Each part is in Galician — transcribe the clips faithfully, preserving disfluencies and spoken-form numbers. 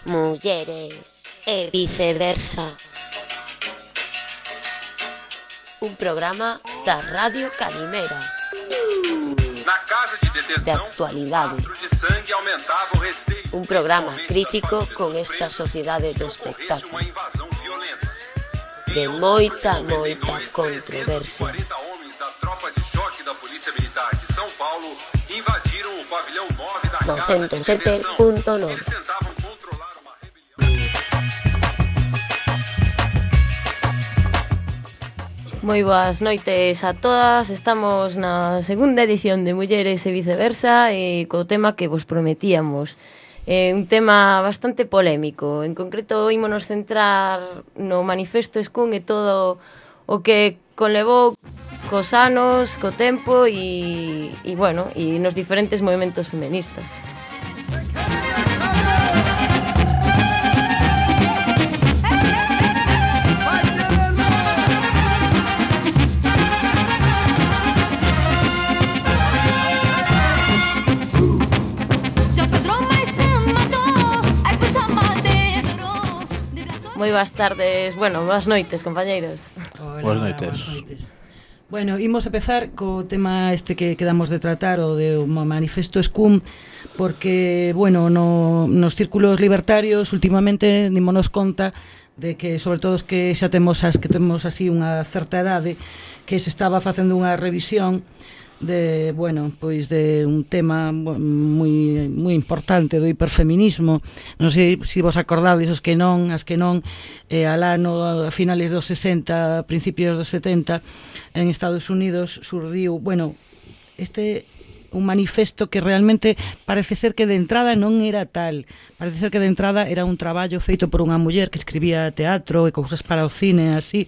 mulleres e viceversa. Un programa da Radio Calimera. Na casa de detenção, de actualidade. o de sangue aumentava o receio. Un programa crítico con esta sociedade do espectáculo. Uma invasão violenta. De moita, moita controversia. quarenta homens da tropa de choque da Polícia Militar de São Paulo invadiram o pavilhão nove da casa de noventa e sete detenção. punto nove. Eles tentavam controlar uma rebelião. Moi boas noites a todas. Estamos na segunda edición de Mulleres e Viceversa e co tema que vos prometíamos. É un tema bastante polémico. En concreto, ímonos centrar no manifesto Scum e todo o que conlevou cos anos, co tempo e, e bueno, e nos diferentes movimentos feministas. Moi boas tardes, bueno, boas noites, compañeiros. Hola, Boas noites. boas noites. Bueno, imos empezar co tema este que quedamos de tratar, o de o manifesto Scum, porque, bueno, no, nos círculos libertarios últimamente dímonos conta de que, sobre todo os que xa temos as que temos así unha certa idade, que se estaba facendo unha revisión de, bueno, pois de un tema moi moi importante do hiperfeminismo. Non sei se vos acordades, os que non, as que non, eh, alá no, a finales dos sesenta, principios dos setenta, en Estados Unidos surdiu, bueno, este un manifesto que realmente parece ser que de entrada non era tal. Parece ser que de entrada era un traballo feito por unha muller que escribía teatro e cousas para o cine, así.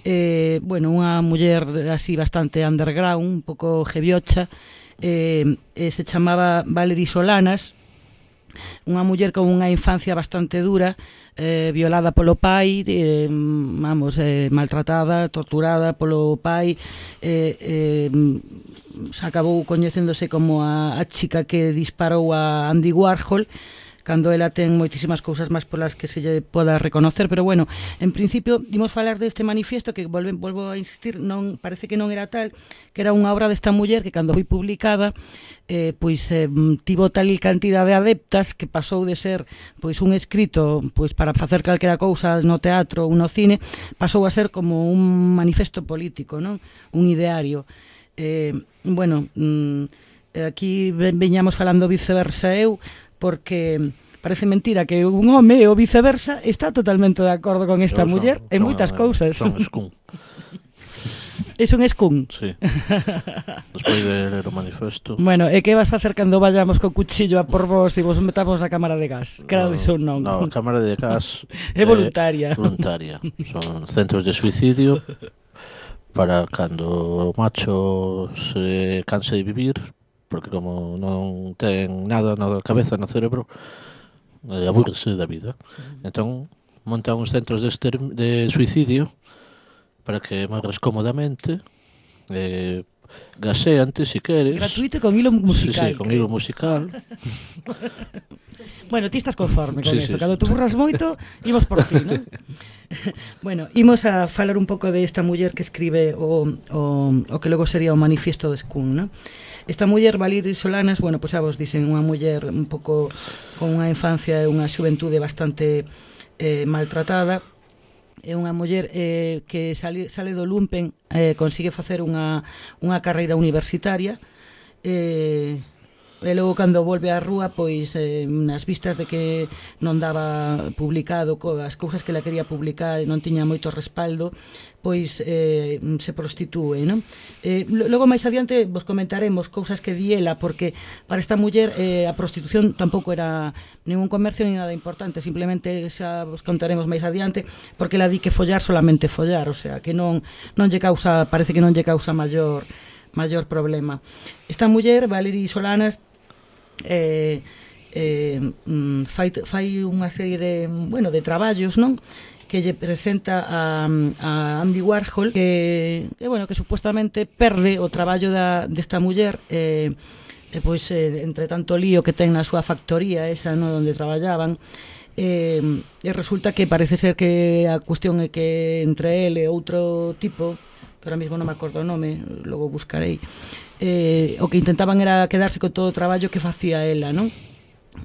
Eh, bueno, unha muller así bastante underground, un pouco jeviocha, eh, eh, se chamaba Valerie Solanas, unha muller con unha infancia bastante dura, eh, violada polo pai, eh, vamos, eh, maltratada, torturada polo pai, eh, eh, se acabou coñecéndose como a, a chica que disparou a Andy Warhol, cando ela ten moitísimas cousas máis polas que se lle poda reconocer, pero bueno, en principio imos falar deste manifesto que volve, volvo a insistir, non parece que non era tal, que era unha obra desta muller que cando foi publicada eh, pois eh, tivo tal cantidad de adeptas que pasou de ser pois un escrito pois para facer calquera cousa no teatro ou no cine, pasou a ser como un manifesto político, non? Un ideario. Eh, bueno, mm, aquí veñamos falando viceversa eu, porque parece mentira que un home ou viceversa está totalmente de acordo con esta Son- muller en son- moitas cousas. Son Scum, Es un Scum. sí. Despois de ler o manifesto. Bueno, e que vas facer cando vayamos co cuchillo a por vos e vos metamos na cámara de gas? Que era de son non. No, a cámara de gas É voluntaria. voluntaria. Son centros de suicidio para cando o macho se canse de vivir, porque como non ten nada na cabeza, no cerebro, eh, aburrese da vida. Entón, montan uns centros de, exterm- de suicidio para que morres cómodamente, eh, gaseante, si queres. Gratuito e con hilo musical. Sí, sí, con hilo musical. Bueno, ti estás conforme con Sí, eso. sí, Cando sí. te burras moito, imos por ti, non? Bueno, imos a falar un pouco de esta muller que escribe o, o, o que logo sería o manifiesto de Scum, non? Esta muller, Valerie Solanas, bueno, pois xa vos dicen, unha muller un pouco con unha infancia e unha xuventude bastante eh, maltratada. É unha muller eh, que sale, sale do lumpen, eh, consigue facer unha, unha carreira universitaria, eh, e logo cando volve á rúa, pois eh, nas vistas de que non daba publicado co, as cousas que la quería publicar e non tiña moito respaldo, pois eh, se prostitúe, non? Eh, logo máis adiante vos comentaremos cousas que di ela, porque para esta muller eh, a prostitución tampouco era ningún comercio ni nada importante, simplemente xa vos contaremos máis adiante, porque ela di que follar solamente follar, o sea, que non non lle causa, parece que non lle causa maior maior problema. Esta muller, Valerie Solanas, eh, eh, fai, fai unha serie de, bueno, de traballos, non? Que lle presenta a, a Andy Warhol, que, que, bueno, que supuestamente perde o traballo da, desta muller, eh, e pois, eh, entre tanto lío que ten na súa factoría esa, no, onde traballaban, e, e resulta que parece ser que a cuestión é que entre ele e outro tipo, que ahora mesmo non me acordo o nome, logo buscarei, eh, o que intentaban era quedarse con todo o traballo que facía ela, non?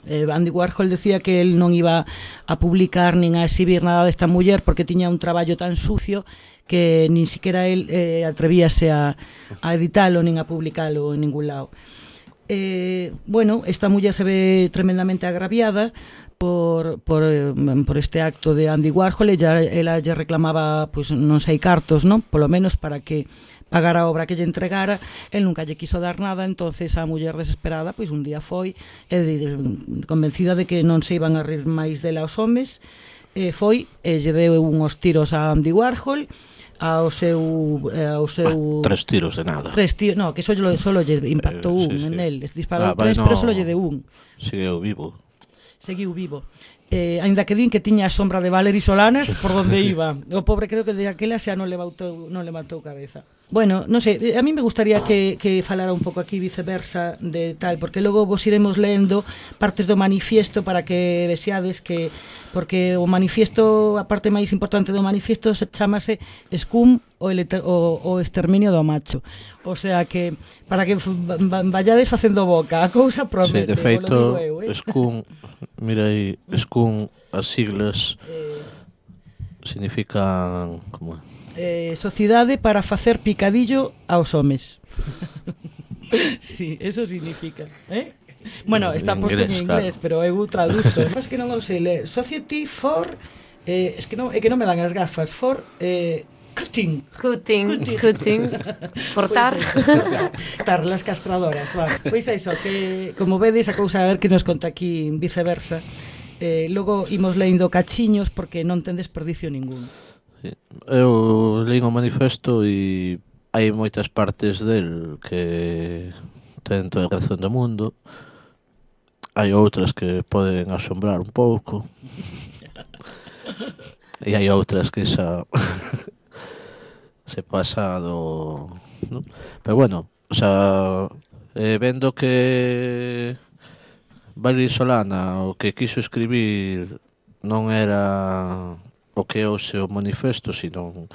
Eh, Andy Warhol decía que él non iba a publicar nin a exhibir nada desta muller porque tiña un traballo tan sucio que nin siquiera él eh, atrevíase a, a editalo nin a publicalo en ningún lado. Eh, bueno, esta muller se ve tremendamente agraviada por, por, por este acto de Andy Warhol. Ella, ela lle reclamaba, pues, non sei cartos, non? Polo menos para que pagara a obra que lle entregara. El nunca lle quiso dar nada, entonces a muller desesperada, pois un día foi, e convencida de que non se iban a rir máis dela os homes, e foi e lle deu uns tiros a Andy Warhol, ao seu ao seu bah, tres tiros de nada. Tres tiros, no, que só solo lle impactou eh, un sí, sí. en el, disparou ah, tres, no, pero só lle deu un. Seguiu vivo. Seguiu vivo. Eh, ainda que din que tiña a sombra de Valery Solanas por donde iba. O pobre creo que de aquela xa non levantou, non levantou cabeza. Bueno, non sei, a mí me gustaría que, que falara un pouco aquí viceversa de tal, porque logo vos iremos lendo partes do manifiesto para que vexades que, porque o manifiesto, a parte máis importante do manifiesto se chamase Scum o, el, o, o exterminio do macho. O sea que, para que vallades facendo boca, a cousa promete. Sí, de feito, eu, eh? Scum, mira aí, Scum, as siglas eh, significan, como Eh, sociedade para facer picadillo aos homes. Sí, eso significa, eh? Bueno, está posto en inglés, claro. Pero eu traduzo. É que non o sei ler. Society for eh, es que non, é que non me dan as gafas. For eh, cutting. Cutting, cutting. cutting. Cortar. Pues, cortar las castradoras, vale. Pois é iso, que como vedes a cousa a ver que nos conta aquí viceversa. Eh, logo imos lendo cachiños porque non ten desperdicio ningún. Eu leí o manifesto e hai moitas partes del que ten toda a razón do mundo, hai outras que poden asombrar un pouco e hai outras que xa se pasa do, ¿no? Pero bueno, o sea, eh, vendo que Valery Solana o que quiso escribir non era o que é o seu manifesto, sino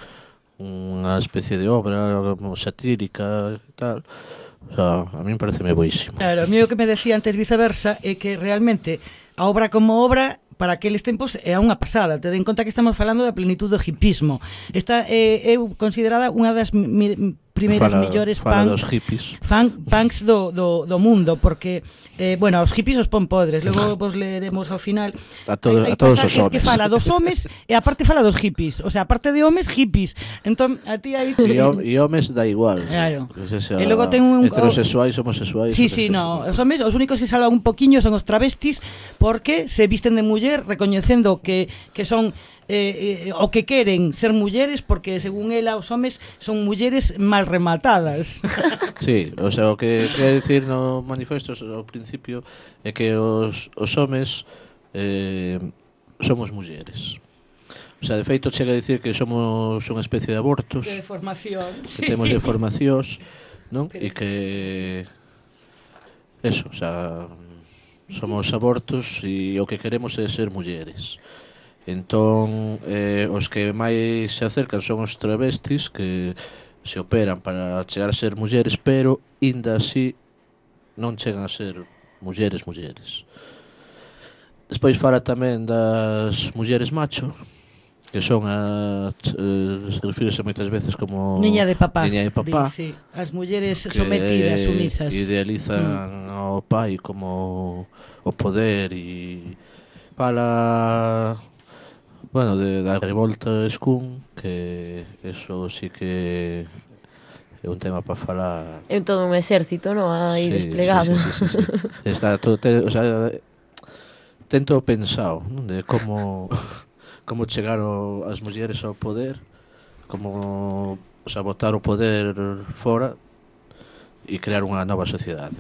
unha especie de obra satírica e tal. O sea, a mí me parece moi boísimo. Claro, a mí o que me decía antes viceversa é que realmente a obra como obra para aqueles tempos é unha pasada. Te den conta que estamos falando da plenitud do hipismo. Esta é, é considerada unha das mi, primeiras fala, millores fala punk, dos hippies. Fan, punks do, do, do mundo, porque eh, bueno, os hippies os pon podres, logo vos leeremos ao final. A, todo, hai, hai a todos os homes. que fala dos homes e aparte fala dos hippies, o sea, aparte de homes, hippies. Entón, a ti aí e, e homes da igual. Claro. Sea, e logo ten un heterosexuais, homosexuais. Sí, sí, no, os homes, os únicos que salvan un poquiño son os travestis, porque se visten de muller recoñecendo que que son Eh, eh, o que queren ser mulleres porque según ela os homes son mulleres mal rematadas. Sí, o sea, o que quere dicir no manifesto ao principio é que os, os homes eh, somos mulleres. O sea, de feito chega a dicir que somos unha especie de abortos, de deformación, que sí. Temos deformacións, non? E que eso, o sea, somos abortos e o que queremos é ser mulleres. Entón, eh, os que máis se acercan son os travestis que se operan para chegar a ser mulleres, pero inda así non chegan a ser mulleres mulleres. Despois fala tamén das mulleres macho, que son as eh, se refírese moitas veces como niña de papá, niña de papá di, sí. As mulleres sometidas, sumisas, idealizan mm. ao pai como o poder e fala, bueno, de, da revolta Scum, que eso sí que é un tema para falar. É todo un exército, non? Aí sí, desplegado. Sí, sí, sí, sí, sí. Está todo, te, o sea, ten todo pensado, non? De como como chegar o, as mulleres ao poder, como, o sea, botar o poder fora e crear unha nova sociedade.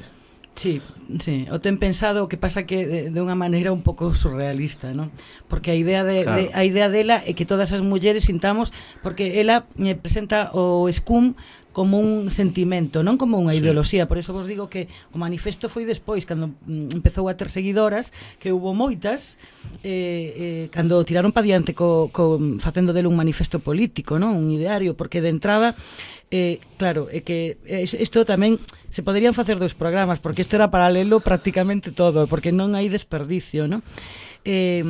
Sí, sí, o ten pensado, o que pasa que de, de unha maneira un pouco surrealista, ¿no? Porque a idea de, claro. de a idea dela é que todas as mulleres sintamos, porque ela me presenta o Scum como un sentimento, non como unha sí. ideoloxía. Por eso vos digo que o manifesto foi despois, cando empezou a ter seguidoras, que hubo moitas, eh, eh, cando tiraron pa diante co, co, facendo dele un manifesto político, non? Un ideario, porque de entrada eh, claro, é que isto tamén se poderían facer dos programas, porque isto era paralelo prácticamente todo, porque non hai desperdicio, non? Eh,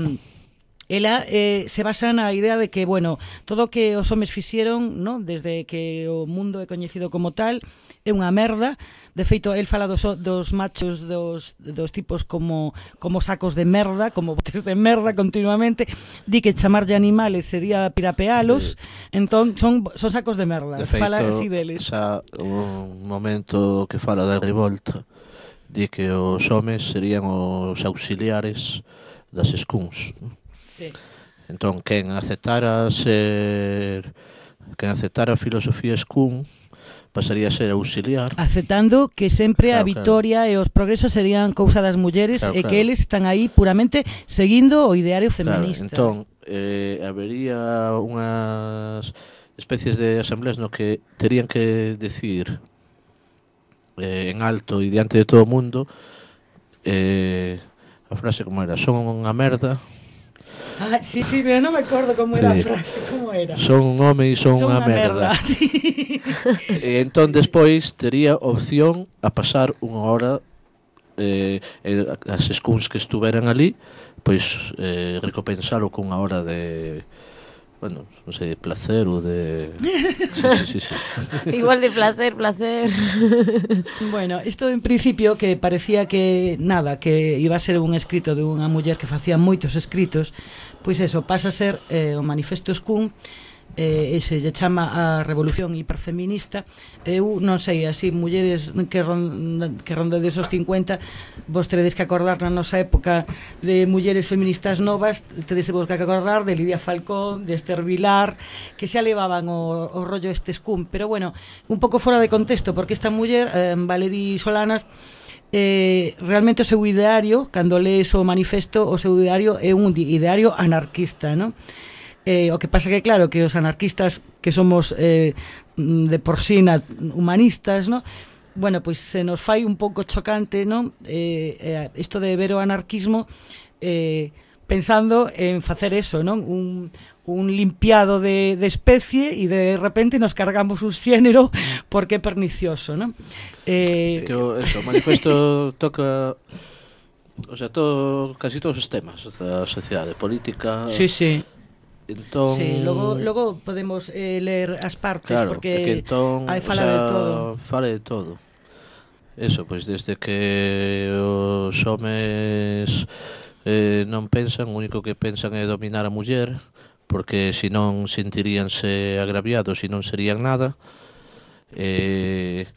ela eh, se basa na idea de que, bueno, todo o que os homes fixeron, no? Desde que o mundo é coñecido como tal, é unha merda. De feito, el fala dos, dos machos, dos, dos tipos como, como sacos de merda, como botes de merda continuamente. Di que chamarlle animales sería pirapealos, sí. Entón son, son sacos de merda. De feito, fala así deles. Xa un momento que fala da revolta, di que os homes serían os auxiliares das escuns. Sí. Entón, quen aceptara ser quen aceptara a filosofía escún pasaría a ser auxiliar. Aceptando que sempre claro, a vitoria claro. E os progresos serían cousa das mulleres claro, e claro. que eles están aí puramente seguindo o ideario feminista. Claro, entón, eh, habería unhas especies de asambleas no que terían que decir eh, en alto e diante de todo o mundo eh, a frase como era, son unha merda. Ah, sí, sí, pero non me acordo como era sí. A frase, como era. Son un home e son, son unha merda. merda. Sí. E entón despois tería opción a pasar unha hora eh, as escuns que estuveran ali, pois eh, recompensalo cunha hora de, bueno, non sei, de placer ou de... Sí, sí, sí, sí. Igual de placer, placer. Bueno, isto en principio que parecía que nada, que iba a ser un escrito de unha muller que facía moitos escritos, pois eso, pasa a ser eh, o manifesto escún, eh, ese lle chama a revolución hiperfeminista. Eu non sei, así, mulleres que, ronda, que rondedes os cincuenta, vos teredes que acordar na nosa época de mulleres feministas novas, tedes vos que acordar de Lidia Falcón, de Esther Vilar, que xa levaban o, o rollo este escún, pero bueno, un pouco fora de contexto, porque esta muller, eh, Valerie Solanas, Eh, realmente o seu ideario, cando lees o manifesto, o seu ideario é un ideario anarquista, non? Eh, o que pasa que claro, que os anarquistas que somos eh, de por sí humanistas, non? Bueno, pois se nos fai un pouco chocante, non? Eh, eh, isto de ver o anarquismo eh, pensando en facer eso, non? Un un limpiado de, de especie e de repente nos cargamos un xénero porque é pernicioso, non? Eh... Que o, eso, o manifesto toca, o sea, todo, casi todos os temas da sociedade, política... Sí, sí. Entón... Sí, logo, logo podemos eh, ler as partes, claro, porque entón, hai fala o sea, de todo. Fala de todo. Eso, pois desde que os homes eh, non pensan, o único que pensan é dominar a muller, porque se non sentiríanse agraviados e non serían nada, eh,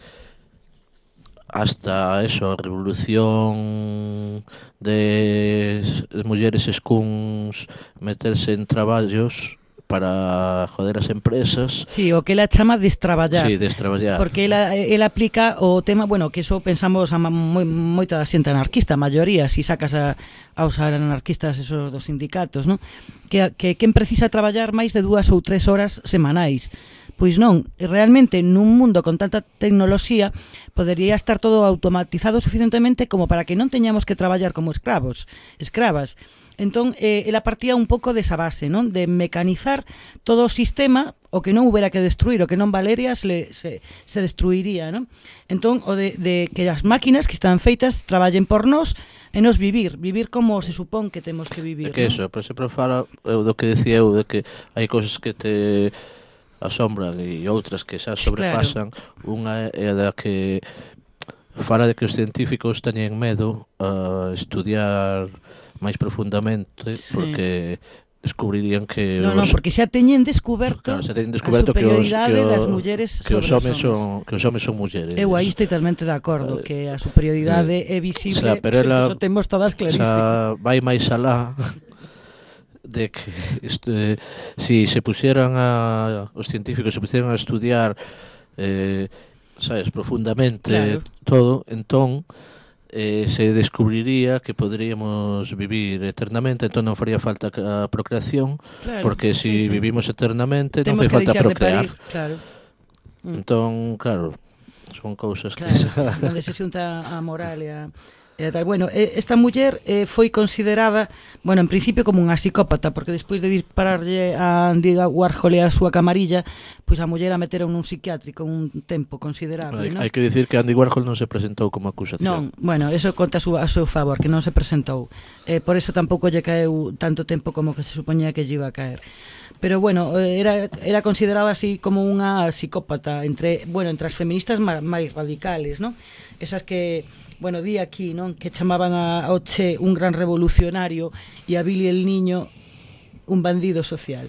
hasta eso, a revolución de mulleres escuns meterse en traballos para joder as empresas. Sí, o que ela chama destraballar. Sí, destraballar. Porque ela, ela aplica o tema, bueno, que eso pensamos a moi, moita da xente anarquista, a maioría, si sacas a, aos anarquistas esos dos sindicatos, non? Que, que quen precisa traballar máis de dúas ou tres horas semanais. Pois non, realmente nun mundo con tanta tecnoloxía podería estar todo automatizado suficientemente como para que non teñamos que traballar como escravos, escravas. Entón, eh, ela partía un pouco desa base, non? De mecanizar todo o sistema, o que non houbera que destruir, o que non valería se, se, se destruiría, non? Entón, o de, de que as máquinas que están feitas traballen por nós e nos vivir, vivir como se supón que temos que vivir, é que non? eso, por exemplo, fala eu do que decía eu, de que hai cousas que te asombran e outras que xa sobrepasan. Claro. Unha é da que fala de que os científicos teñen medo a estudiar máis profundamente, sí, porque descubrirían que no, os... no, porque xa teñen descuberto, claro, xa teñen descuberto a superioridade que os, que das mulleres que os homes son, que os homes son mulleres. Eu aí estou totalmente de acordo, que a superioridade eh, é visible, o sea, pero ela, eso temos todas clarísimas. Vai máis alá de que este, si se pusieran a os científicos se pusieran a estudiar eh, sabes, profundamente, claro, todo, entón eh, se descubriría que poderíamos vivir eternamente, entón non faría falta a procreación, claro, porque si sí, sí, vivimos eternamente non fai falta procrear, claro. Entón, claro, son cousas claro, que... onde se xunta a moral e a E tal, bueno, esta muller eh, foi considerada, bueno, en principio como unha psicópata, porque despois de dispararlle a Andy Warhol e a súa camarilla, pois a muller a meteron nun psiquiátrico un tempo considerable, hai, non? hai que dicir que Andy Warhol non se presentou como acusación. Non, bueno, eso conta a seu, a seu favor, que non se presentou. Eh, por eso tampouco lle caeu tanto tempo como que se supoñía que lle iba a caer. Pero bueno, era, era considerada así como unha psicópata entre, bueno, entre as feministas máis radicales, non? Esas que, bueno, di aquí, non? Que chamaban a, ao Che un gran revolucionario e a Billy el Niño un bandido social.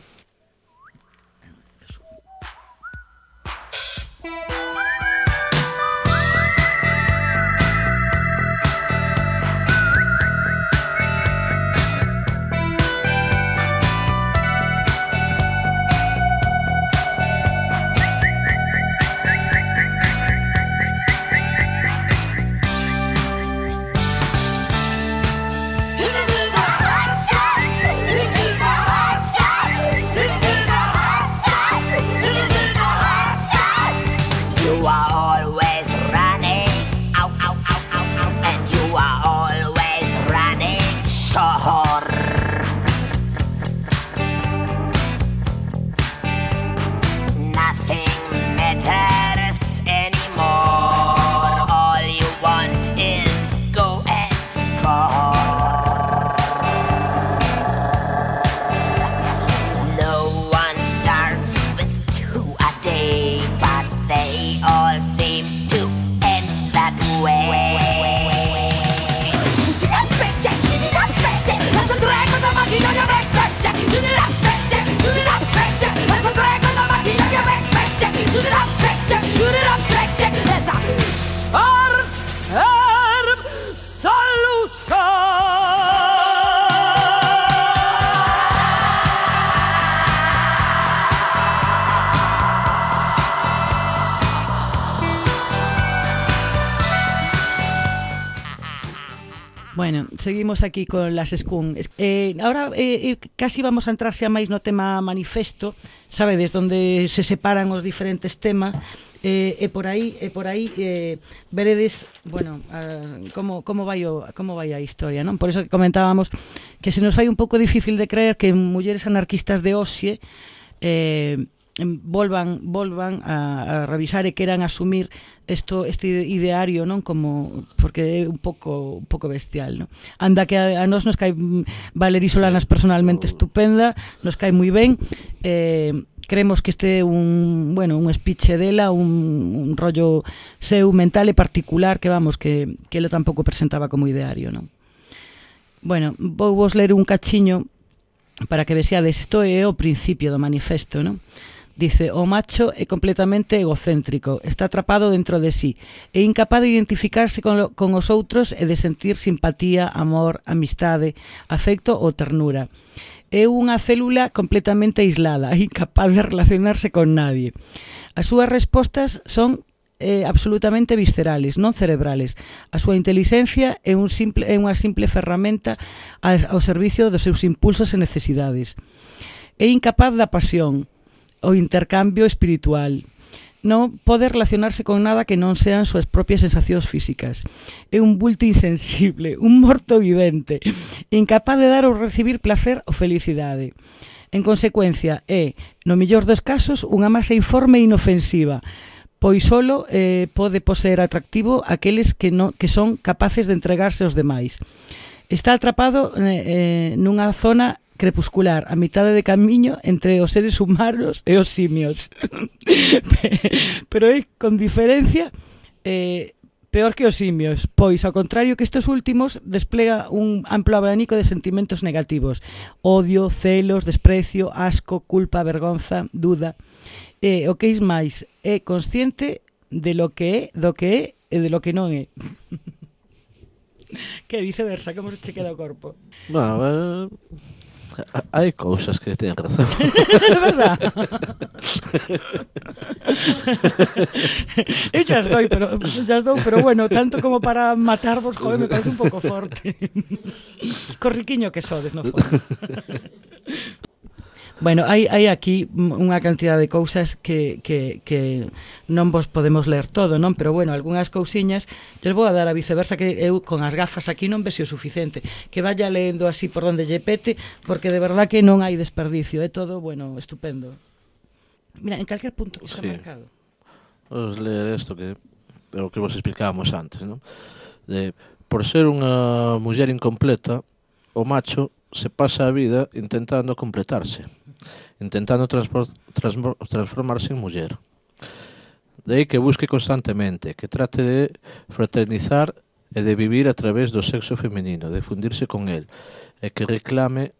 Bueno, seguimos aquí con las Skunk. Eh, ahora eh, casi vamos a entrar xa máis no tema manifesto, sabedes, donde se separan os diferentes temas, eh, e por aí, e por aí eh, veredes, bueno, uh, como, como, vai o, como vai a historia, non? Por eso que comentábamos que se nos fai un pouco difícil de creer que mulleres anarquistas de hoxe eh, volvan volvan a, a revisar e queran asumir esto, este ideario, non, como porque é un pouco un pouco bestial, non? Anda que a, a nós nos cae Valerie Solanas personalmente estupenda, nos cae moi ben, eh, creemos que este é un, bueno, un speech dela, un, un rollo seu mental e particular que vamos, que, que ela tampouco presentaba como ideario, non? Bueno, vou vos ler un cachiño para que vexades, isto é o principio do manifesto, non? Dice, o macho é completamente egocéntrico, está atrapado dentro de sí, é incapaz de identificarse con, lo, con os outros e de sentir simpatía, amor, amistade, afecto ou ternura. É unha célula completamente aislada, incapaz de relacionarse con nadie. As súas respostas son eh, absolutamente viscerales, non cerebrales. A súa inteligencia é, un simple, é unha simple ferramenta ao, ao servicio dos seus impulsos e necesidades. É incapaz da pasión, o intercambio espiritual. Non pode relacionarse con nada que non sean súas propias sensacións físicas. É un bulto insensible, un morto vivente, incapaz de dar ou recibir placer ou felicidade. En consecuencia, é, no mellor dos casos, unha masa informe e inofensiva, pois solo eh, pode poseer atractivo aqueles que, no, que son capaces de entregarse aos demais. Está atrapado eh, nunha zona crepuscular, a mitade de camiño entre os seres humanos e os simios. Pero é con diferencia eh, peor que os simios, pois ao contrario que estes últimos desplega un amplo abanico de sentimentos negativos: odio, celos, desprecio, asco, culpa, vergonza, duda. E o que é máis, é consciente de lo que é, do que é e de lo que non é. Que viceversa, como se che queda o corpo? Bueno, eh... hai cousas que teñen razón. É verdad. Eu xa as doi, pero, xa as dou, pero bueno, tanto como para matarvos, joder, me parece un pouco forte. Corriquiño que sodes, no fondo. Bueno, hai, hai aquí unha cantidad de cousas que, que, que non vos podemos ler todo, non? Pero bueno, algunhas cousiñas lles vou a dar a viceversa, que eu con as gafas aquí non vexo o suficiente, que vaya lendo así por donde lle pete, porque de verdad que non hai desperdicio, é todo, bueno, estupendo. Mira, en calquer punto que está sí. marcado. Vamos ler isto que é o que vos explicábamos antes, non? De, por ser unha muller incompleta, o macho se pasa a vida intentando completarse, intentando transformarse en muller. De aí que busque constantemente, que trate de fraternizar e de vivir a través do sexo feminino, de fundirse con el, e que reclame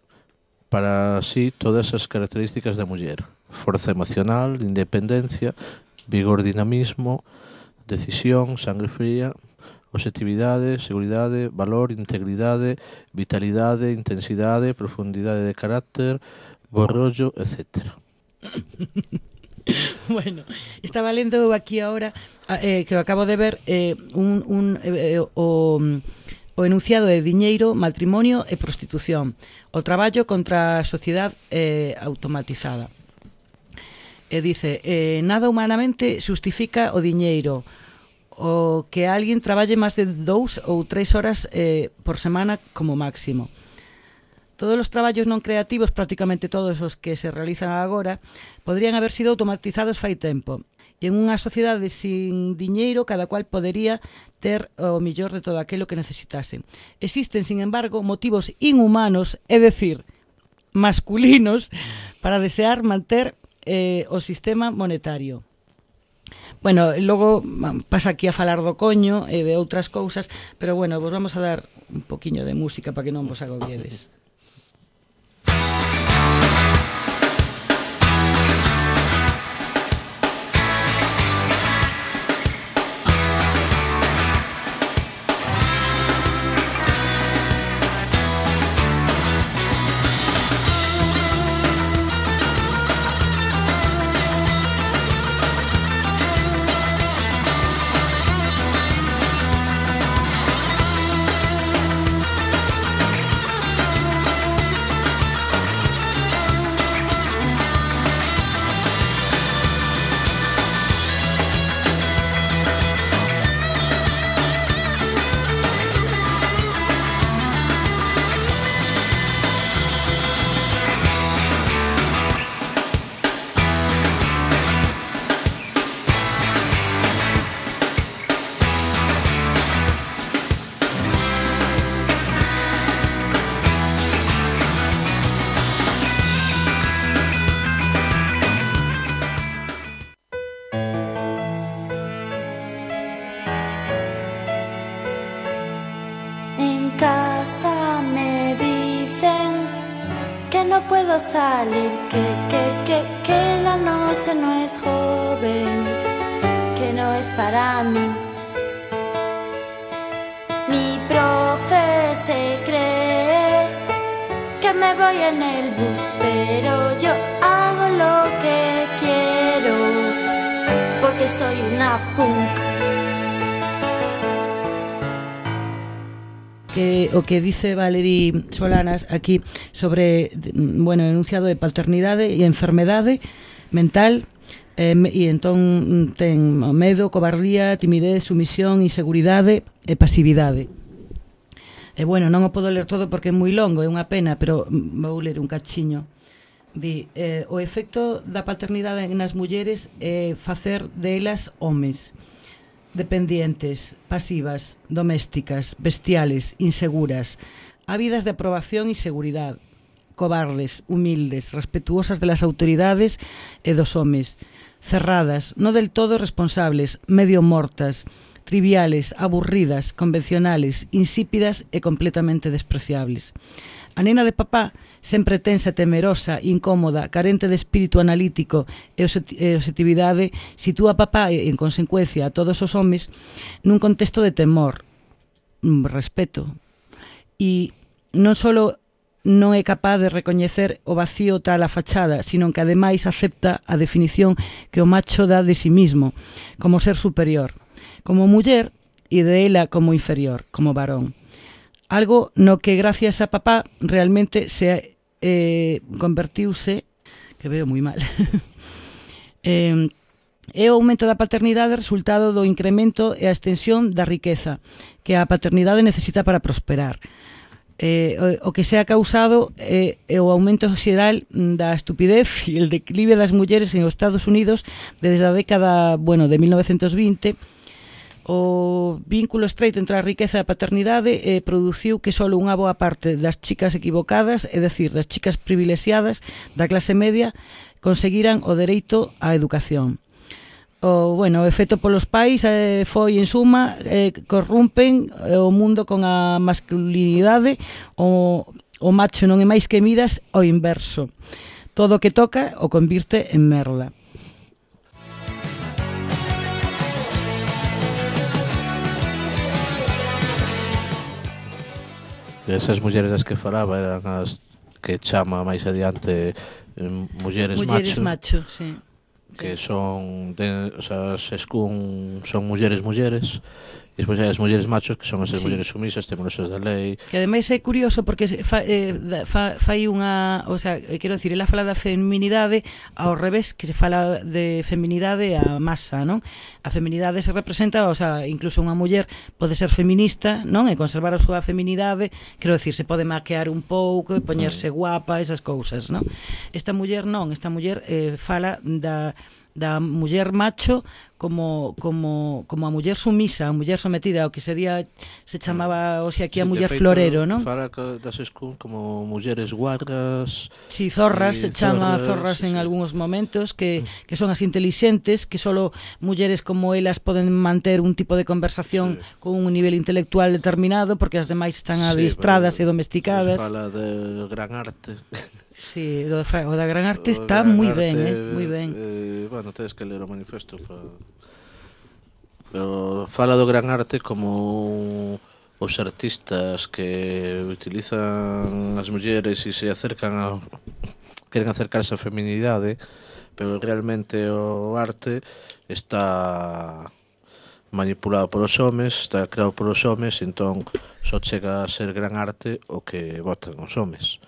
para sí todas as características da muller: forza emocional, independencia, vigor, dinamismo, decisión, sangre fría, objetividade, seguridade, valor, integridade, vitalidade, intensidade, profundidade de carácter, bo rollo, etcétera. Bueno, estaba lendo aquí ahora, eh, que acabo de ver, eh, un, un, eh, o, o enunciado de diñeiro, matrimonio e prostitución, o traballo contra a sociedade eh, automatizada. E dice, eh, nada humanamente justifica o diñeiro, o que alguén traballe máis de dous ou tres horas eh, por semana como máximo. Todos os traballos non creativos, prácticamente todos os que se realizan agora, podrían haber sido automatizados fai tempo. E en unha sociedade sin diñeiro, cada cual podería ter o millor de todo aquilo que necesitase. Existen, sin embargo, motivos inhumanos, é dicir, masculinos, para desear manter eh, o sistema monetario. Bueno, logo pasa aquí a falar do coño e de outras cousas, pero bueno, vos vamos a dar un poquinho de música para que non vos agobiedes. Salir, que, que, que, que la noche no es joven, que no es para mí. Mi profe se cree que me voy en el bus, pero yo hago lo que quiero, porque soy una punk. Que, o que dice Valerie Solanas aquí sobre, bueno, enunciado de paternidade e enfermedade mental, eh, e entón ten medo, cobardía, timidez, sumisión, inseguridade e pasividade. E bueno, non o podo ler todo porque é moi longo, é unha pena, pero vou ler un cachiño. Di, eh, o efecto da paternidade nas mulleres é facer delas homes, dependientes, pasivas, domésticas, bestiales, inseguras, ávidas de aprobación e seguridade, cobardes, humildes, respetuosas de las autoridades e dos homes, cerradas, no del todo responsables, medio mortas, triviales, aburridas, convencionales, insípidas e completamente despreciables. A nena de papá, sempre tensa, temerosa, incómoda, carente de espírito analítico e objetividade, sitúa a papá e, en consecuencia, a todos os homes nun contexto de temor, respeto, e non só non é capaz de recoñecer o vacío tal a fachada, sino que ademais acepta a definición que o macho dá de sí mismo, como ser superior, como muller e de ela como inferior, como varón. Algo no que gracias a papá realmente se eh, convertiuse que veo moi mal. eh, É o aumento da paternidade resultado do incremento e a extensión da riqueza que a paternidade necesita para prosperar. Eh, o, o que se ha causado é, é o aumento xeral da estupidez e el declive das mulleres en os Estados Unidos desde a década, bueno, de mil novecientos vinte. O vínculo estreito entre a riqueza e a paternidade eh, produciu que só unha boa parte das chicas equivocadas, é dicir, das chicas privilexiadas da clase media, conseguiran o dereito á educación. O, bueno, o efecto polos pais eh, foi, en suma, eh, corrompen eh, o mundo con a masculinidade, o, o macho non é máis que Midas, o inverso. Todo o que toca o convirte en merda. Esas mulleres das que falaba eran as que chama máis adiante eh, mulleres, mulleres macho, macho, sí. que son de, o sea, as escún son mulleres mulleres e despois hai as mulleres machos que son as sí. mulleres sumisas, temerosas da lei. Que ademais é curioso porque fa, eh, fa, fai unha, o sea, quero dicir, ela fala da feminidade ao revés que se fala de feminidade a masa, non? A feminidade se representa, o sea, incluso unha muller pode ser feminista, non? E conservar a súa feminidade, quero dicir, se pode maquear un pouco e poñerse guapa, esas cousas, non? Esta muller non, esta muller eh, fala da da muller macho como como como a muller sumisa, a muller sometida, o que sería se chamaba hoxe aquí a muller feito, florero, non? Fala das escún como mulleres guardas. Si, sí, zorras, se chama zorras, zorras en sí. algúns momentos que que son as intelixentes, que solo mulleres como elas poden manter un tipo de conversación sí. con un nivel intelectual determinado, porque as demais están sí, adestradas e domesticadas. Fala de gran arte. Sí, o da gran arte está moi ben, eh, moi ben. Eh, bueno, tedes que ler o manifesto para... Pero fala do gran arte como os artistas que utilizan as mulleres e se acercan a... queren acercarse á feminidade, pero realmente o arte está manipulado polos homes, está creado polos homes, entón só chega a ser gran arte o que votan os homes.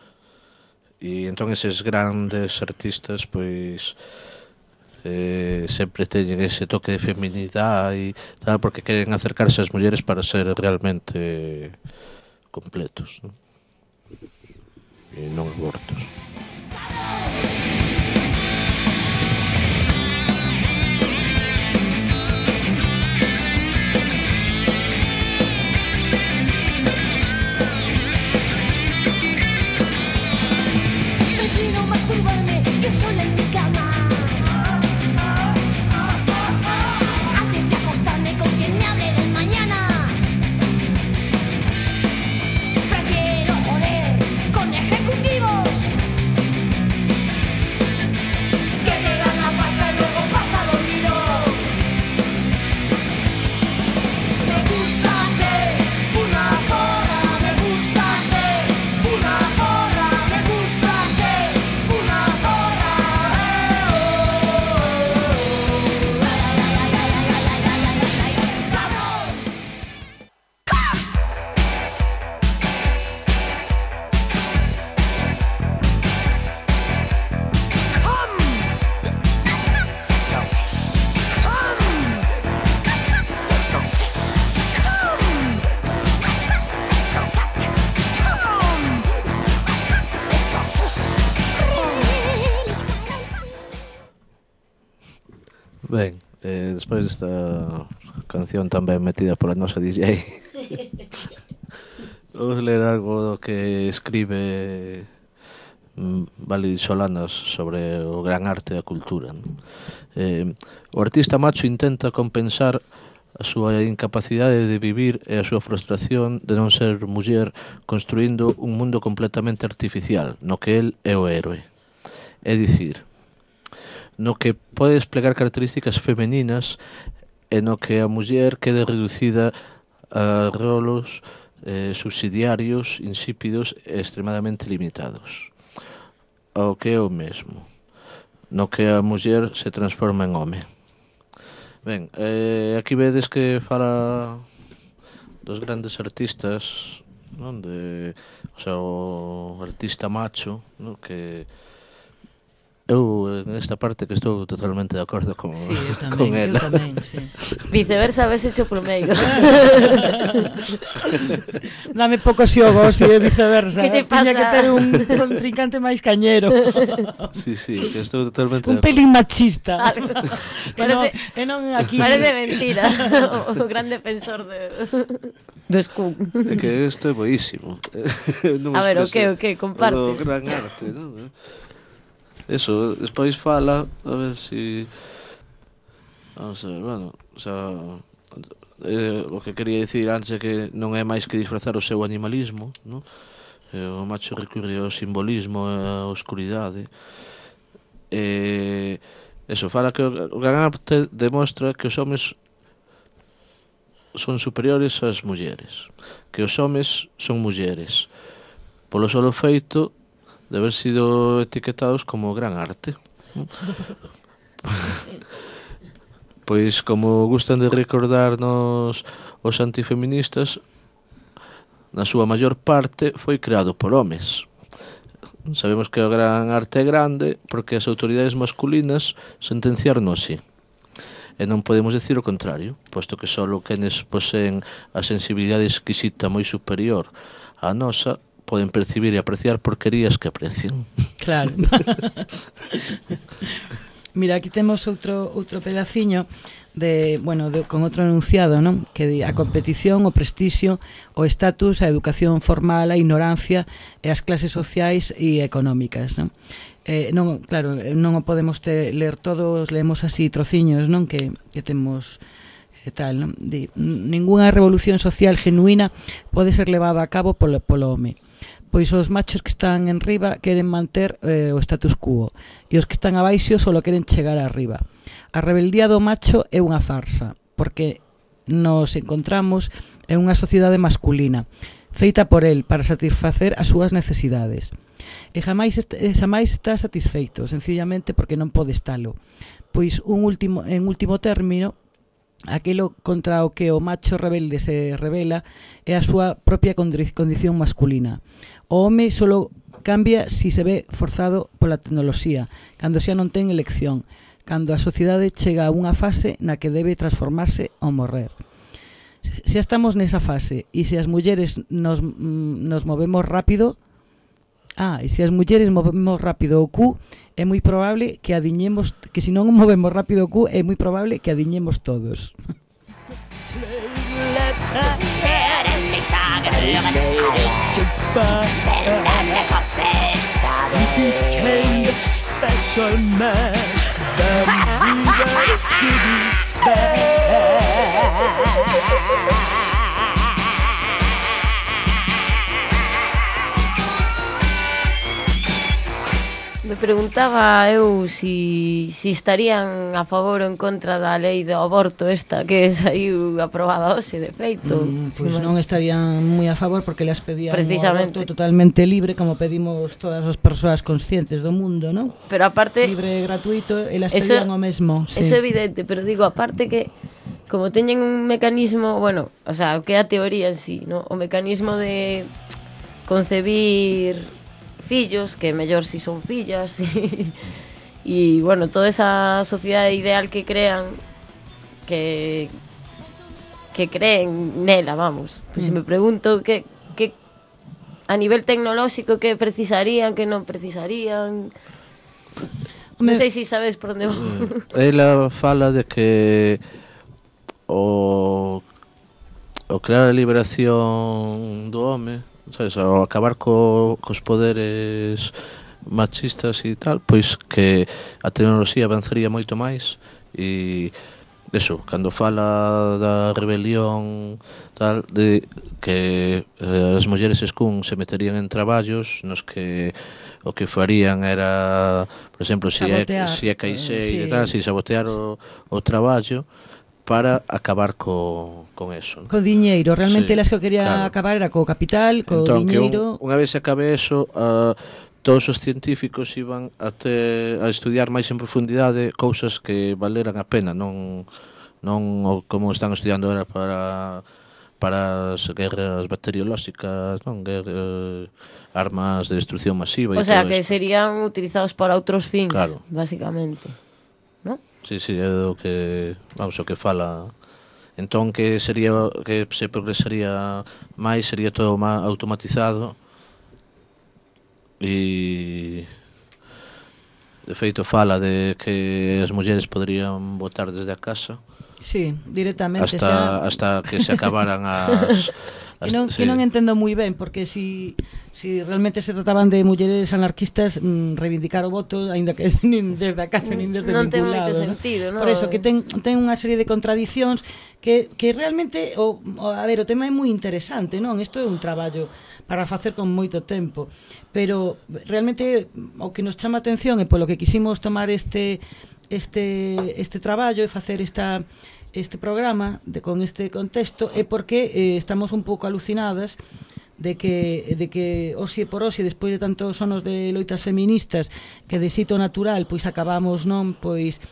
E entón eses grandes artistas pois eh, sempre teñen ese toque de feminidade e tal, porque queren acercarse ás mulleres para ser realmente completos, non? E non abortos. Yo sola en mi cama, antes de acostarme con quien me hable del mañana. Prefiero joder con ejecutivos que te dan la pasta y luego pasa al olvido. Me gusta ser una zorra, me gusta ser una zorra, me gusta ser una zorra. Ben, eh, despois desta canción tan ben metida pola nosa D J vamos ler algo do que escribe Vali Solanas sobre o gran arte e a cultura, non? Eh, o artista macho intenta compensar a súa incapacidade de vivir e a súa frustración de non ser muller construindo un mundo completamente artificial no que el é o héroe, é dicir, no que pode desplegar características femeninas e no que a muller quede reducida a rolos eh, subsidiarios, insípidos e extremadamente limitados. Ao que é o mesmo, no que a muller se transforma en home. Ben, eh, aquí vedes que fala dos grandes artistas, non? De, o sea, o artista macho, non? Que eu en esta parte que estou totalmente de acordo con, Sí, eu tamén, con eu ela. tamén, sí. Viceversa, a veces o primeiro. Dame pouco xogos e viceversa. Que te Tiña pasa? que ter un contrincante máis cañero. Sí, sí, que estou totalmente Un de acordo. pelín machista. Algo. E non, Parece, e non aquí. parece mentira. O, o gran defensor de, do Scum. É que isto é boísimo. Non A ver, o expresa que, o que, comparte. O gran arte, non? Eso, despois fala, a ver si... Vamos a ver, bueno, o sea, eh, o que quería dicir antes é que non é máis que disfrazar o seu animalismo, non? Eh, o macho recurre ao simbolismo e á oscuridade. E eso, fala que o gran arte demostra que os homes son superiores ás mulleres, que os homes son mulleres, polo solo feito de haber sido etiquetados como gran arte. Pois, como gustan de recordarnos os antifeministas, na súa maior parte foi creado por homes. Sabemos que o gran arte é grande porque as autoridades masculinas sentenciaron así. E non podemos decir o contrario, posto que só quenes poseen a sensibilidade exquisita moi superior á nosa poden percibir e apreciar porquerías que aprecian. Claro. Mira, aquí temos outro outro pedaciño de, bueno, de, con outro enunciado, non? Que di a competición, o prestixio, o estatus, a educación formal, a ignorancia e as clases sociais e económicas, non? Eh, non, claro, non o podemos te, ler todos, leemos así trociños, non? Que, que temos e tal, non? Di, ningunha revolución social genuína pode ser levada a cabo polo, polo home. Pois os machos que están en riba queren manter eh, o status quo e os que están abaixo solo queren chegar arriba. A rebeldía do macho é unha farsa, porque nos encontramos en unha sociedade masculina, feita por el para satisfacer as súas necesidades. E jamais, est jamais está satisfeito, sencillamente porque non pode estalo. Pois un último, en último término, aquilo contra o que o macho rebelde se revela é a súa propia condición masculina. O home solo cambia si se ve forzado pola tecnoloxía, cando xa non ten elección, cando a sociedade chega a unha fase na que debe transformarse ou morrer. Se estamos nesa fase e se as mulleres nos, nos movemos rápido, ah, e se as mulleres movemos rápido o cu, é moi probable que adiñemos, que se non movemos rápido o cu, é moi probable que adiñemos todos. Me preguntaba eu si, si estarían a favor ou en contra da lei do aborto esta que saiu aprobada hoxe, de feito. Mm, Si pois man- non estarían moi a favor porque las pedían Precisamente. un aborto totalmente libre, como pedimos todas as persoas conscientes do mundo, non? Pero aparte, Libre e gratuito, e las Eso- pedían o mesmo. Sí. eso é evidente, pero digo, aparte que como teñen un mecanismo, bueno, o sea, o que é a teoría en sí, ¿no? O mecanismo de concebir fillos, que mellor si son fillas, e, e bueno, toda esa sociedade ideal que crean, que que creen nela, vamos. Pois se me pregunto que, que a nivel tecnolóxico que precisarían, que non precisarían. Non Home, sei se sabes por onde vou. Ela fala de que o o crear a liberación do home, sabes, ao acabar co, cos poderes machistas e tal, pois que a tecnoloxía avanzaría moito máis e eso, cando fala da rebelión tal, de que eh, as mulleres escún se meterían en traballos nos que o que farían era, por exemplo, se é, Sabotear, si é caixeira eh, e tal, sí. si sabotear o, o traballo para acabar co, con eso, ¿no? Co diñeiro, realmente Sí, elas que quería claro. acabar era co capital, co Entón, que diñeiro. un, unha vez se acabe eso, uh, todos os científicos iban a, te, a estudiar máis en profundidade cousas que valeran a pena, non non o como están estudiando ahora para para as guerras bacteriolóxicas, non? Guerra, armas de destrucción masiva. O sea, que esto serían utilizados para outros fins, claro, basicamente, non? Sí, sí, é o que, vamos, o que fala. Entón, que sería, que se progresaría máis, sería todo máis automatizado e, de feito, fala de que as mulleres poderían votar desde a casa. Sí, directamente. Hasta, sea... hasta que se acabaran as... que, non, sí. que non entendo moi ben, porque si, si realmente se trataban de mulleres anarquistas, mmm, reivindicar o voto, aínda que nin desde a casa, nin desde non ningún ten lado. moito sentido, ¿no? Por eso, que ten, ten unha serie de contradicións que, que realmente, o, o, a ver, o tema é moi interesante, non? Isto é un traballo para facer con moito tempo, pero realmente o que nos chama a atención e polo que quisimos tomar este este este traballo e facer esta este programa de con este contexto é porque eh, estamos un pouco alucinadas de que de que hoxe por hoxe, despois de tantos anos de loitas feministas, que de xeito natural pois acabamos, non, pois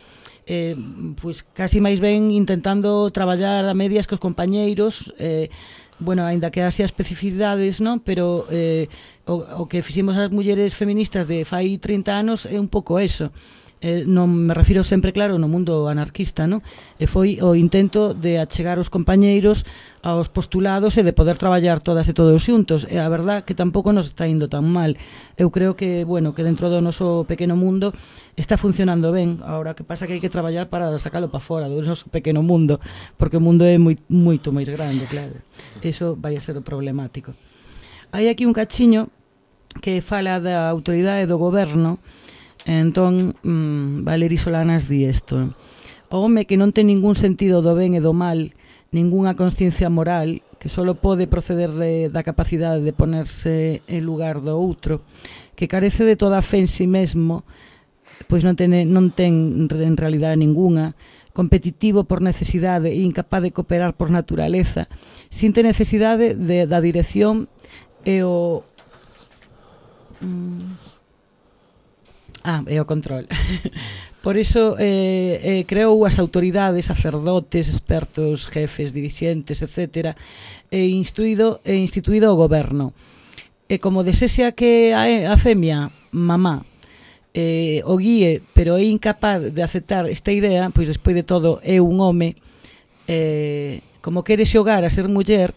eh, pois casi máis ben intentando traballar a medias cos compañeiros, eh, bueno, aínda que haxa especificidades, non, pero eh, o, o que fixemos as mulleres feministas de fai trinta anos é un pouco eso. Eh, non me refiro sempre, claro, no mundo anarquista, non? E foi o intento de achegar os compañeiros aos postulados e de poder traballar todas e todos xuntos. E a verdad que tampouco nos está indo tan mal. Eu creo que, bueno, que dentro do noso pequeno mundo está funcionando ben. Ahora que pasa que hai que traballar para sacalo para fora do noso pequeno mundo, porque o mundo é moi, moito máis grande, claro. Eso vai a ser o problemático. Hai aquí un cachiño que fala da autoridade do goberno. Entón, mmm, Valery Solanas di isto: o home que non ten ningún sentido do ben e do mal, ningunha consciencia moral, que só pode proceder de, da capacidade de ponerse en lugar do outro, que carece de toda a fe en si mesmo, pois non ten, non ten en realidade ningunha, competitivo por necesidade e incapaz de cooperar por naturaleza, sinte necesidade de, da dirección e o... Mm, Ah, e o control. Por iso eh, eh, creou as autoridades, sacerdotes, expertos, jefes, dirixentes, etcétera, e instruído e instituído o goberno. E como desexea que a, a femia, mamá, eh, o guíe, pero é incapaz de aceptar esta idea, pois despois de todo é un home, eh, como quere xogar a ser muller,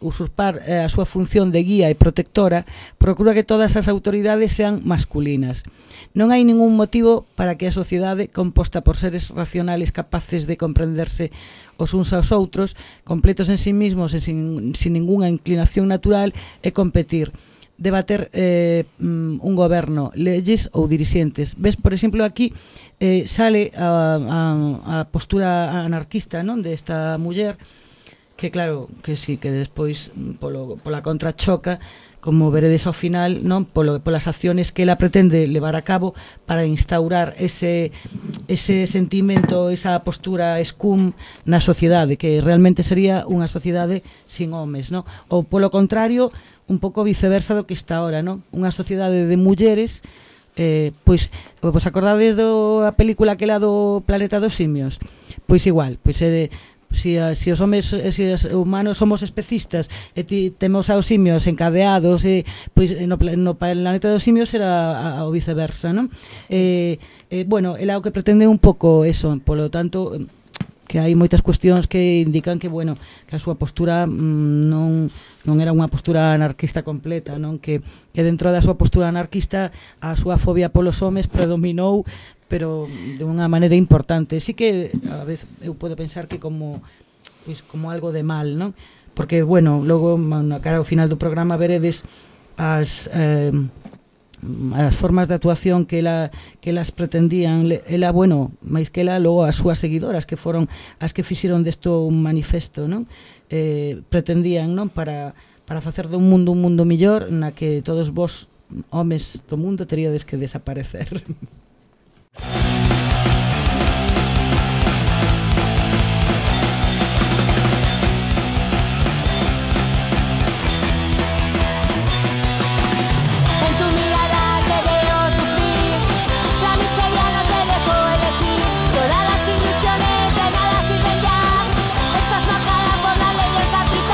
usurpar eh, a súa función de guía e protectora, procura que todas as autoridades sean masculinas. Non hai ningún motivo para que a sociedade, composta por seres racionales capaces de comprenderse os uns aos outros, completos en sí mismos e sin, sin ninguna inclinación natural, e competir, debater eh, un goberno, leyes ou dirixentes. Ves, por exemplo, aquí eh, sale a, a, a postura anarquista, non, desta muller, que claro, que sí, que despois polo, pola contra choca, como veredes ao final, non, polo, polas acciones que ela pretende levar a cabo para instaurar ese, ese sentimento, esa postura escum na sociedade, que realmente sería unha sociedade sin homes, non? Ou polo contrario, un pouco viceversa do que está ahora, non? Unha sociedade de mulleres, eh, pois, vos acordades da película que lá do Planeta dos Simios? Pois igual, pois é... Eh, Si, si os homes, si os humanos somos especistas e ti, temos aos simios encadeados, e, pois no, no planeta dos simios era o viceversa, non? Eh, eh, bueno, ela o que pretende un pouco eso, polo tanto, que hai moitas cuestións que indican que, bueno, que a súa postura mmm, non, non era unha postura anarquista completa, non? Que, que dentro da súa postura anarquista a súa fobia polos homes predominou, pero de unha maneira importante. Sí que a vez eu podo pensar que como pois como algo de mal, non? Porque, bueno, logo na cara ao final do programa veredes as eh, as formas de actuación que ela que elas pretendían. Ela, bueno, máis que ela, logo as súas seguidoras, que foron as que fixeron desto un manifesto, non? Eh, pretendían, non, para para facer dun mundo un mundo millor na que todos vos homes do mundo teríades que desaparecer. Todas las ilusiones de nada sirven ya. Estás marcada por la ley del capital.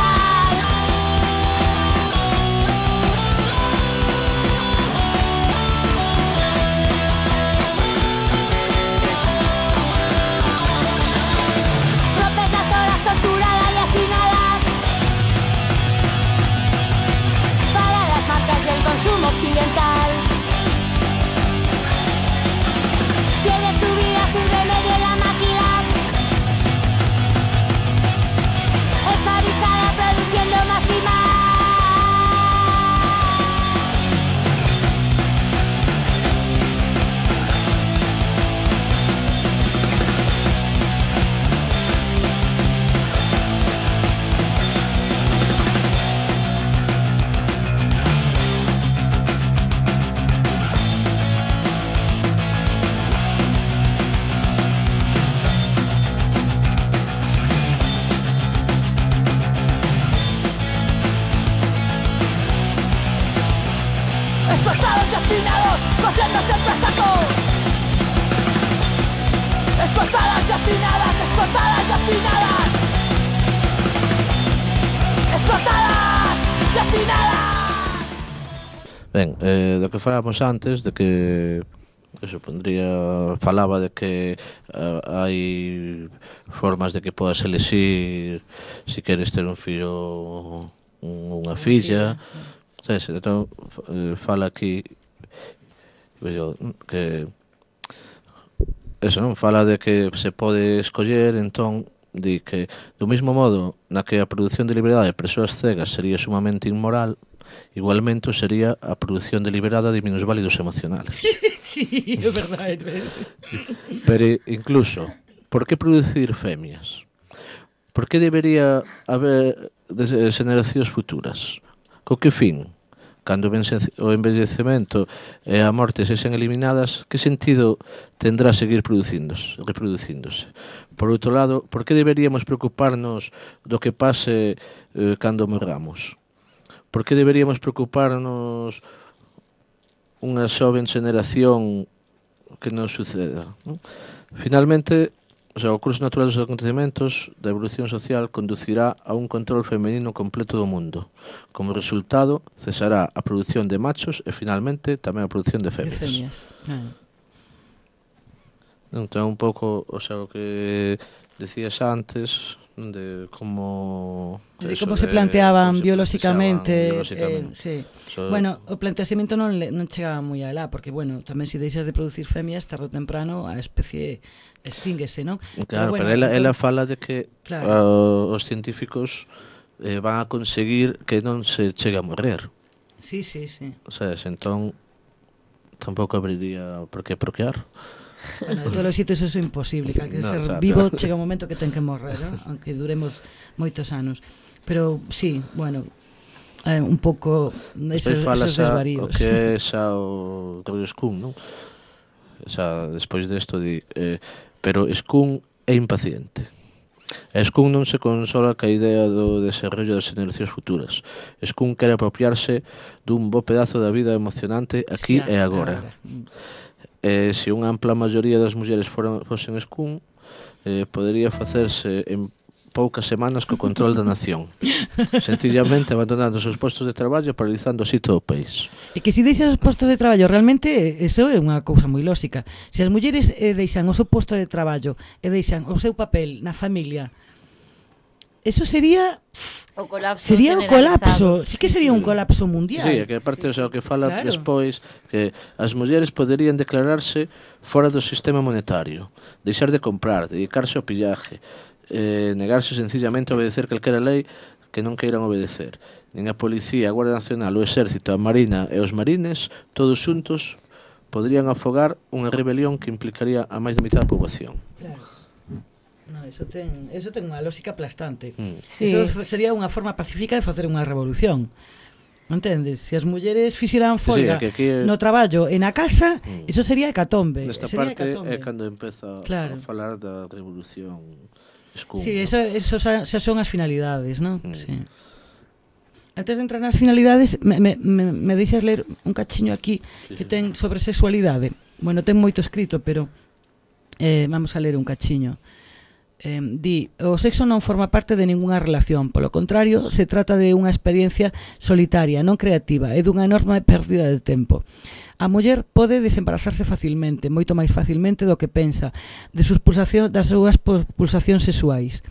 hacinadas, explotadas y hacinadas. Ben, eh, do que falamos antes, de que eso pondría, falaba de que uh, hai formas de que podas elexir si queres ter un fillo unha filla, sabes? Entón, fala aquí yo, que eso, non? Fala de que se pode escoller, entón di que do mesmo modo na que a produción deliberada de persoas cegas sería sumamente inmoral, igualmente sería a produción deliberada de minusválidos emocionales. Sí, é verdade. Pero incluso, por que producir femias? Por que debería haber xeracións futuras? Co que fin? Cando o envellecemento e a morte sexen eliminadas, que sentido tendrá seguir producíndose, reproducíndose? Por outro lado, por que deberíamos preocuparnos do que pase eh, cando morramos? Por que deberíamos preocuparnos unha xoven xeneración que non suceda? Non? Finalmente, o sea, o curso natural dos acontecementos da evolución social conducirá a un control femenino completo do mundo. Como resultado, cesará a produción de machos e, finalmente, tamén a produción de femias. De femias. Ah. Entón, un pouco, o sea, o que decías antes, de como de como se planteaban como biolóxicamente, biolóxicamente. Eh, sí. So, bueno, o planteamiento non le, non chegaba moi alá, porque bueno, tamén se deixas de producir femias, tarde ou temprano a especie extínguese, non? Claro, pero, bueno, pero ela, entón, ela fala de que claro, uh, os científicos eh, van a conseguir que non se chegue a morrer. Sí, sí, sí. O sea, entón tampouco abriría por que proquear. Bueno, de todos os sitios eso é imposible, que no, ser o sea, vivo claro, chega un momento que ten que morrer, ¿no? Aunque duremos moitos anos. Pero sí, bueno, eh, un pouco esos, esos desvaríos. O que é xa o rollo Skun, non? O sea, despois desto di, eh, pero Skun é impaciente. E Skun non se consola ca idea do desarrollo das generacións futuras. Skun quere apropiarse dun bo pedazo da vida emocionante aquí sí, e agora. agora. Eh, se unha ampla maioría das mulleres foran, fosen Skun, eh, podería facerse en poucas semanas co control da nación, sencillamente abandonando os seus postos de traballo, paralizando así todo o país. E que se deixan os postos de traballo, realmente eso é unha cousa moi lógica. Se as mulleres eh, deixan o seu posto de traballo e deixan o seu papel na familia, eso sería o colapso sería un colapso, sí que sería un colapso mundial. Sí, que aparte sí, sí. O sea, o que fala claro, despois que as mulleres poderían declararse fora do sistema monetario, deixar de comprar, dedicarse ao pillaje, eh, negarse sencillamente a obedecer calquera lei que non queiran obedecer. Nin a policía, a Guardia Nacional, o Exército, a Marina e os marines, todos xuntos, poderían afogar unha rebelión que implicaría a máis da mitad da poboación. Claro. No, eso ten, eso ten unha lógica aplastante. Mm. Sí. Eso sería unha forma pacífica de facer unha revolución. Entendes? Se as mulleres fixeran folga sí, sí, é... no traballo e na casa, mm. eso sería hecatombe. Nesta sería parte hecatombe. É cando empeza claro. A falar da revolución Skun. Sí, eso, eso xa, xa son as finalidades, non? Mm. Sí. Antes de entrar nas finalidades, me, me, me, me deixas ler un cachiño aquí sí, que sí. ten sobre sexualidade. Bueno, ten moito escrito, pero eh, vamos a ler un cachiño. Eh, di, o sexo non forma parte de ningunha relación, polo contrario, se trata de unha experiencia solitaria, non creativa, e dunha enorme pérdida de tempo. A muller pode desembarazarse facilmente, moito máis facilmente do que pensa, de sus pulsacións, das súas pulsacións sexuais,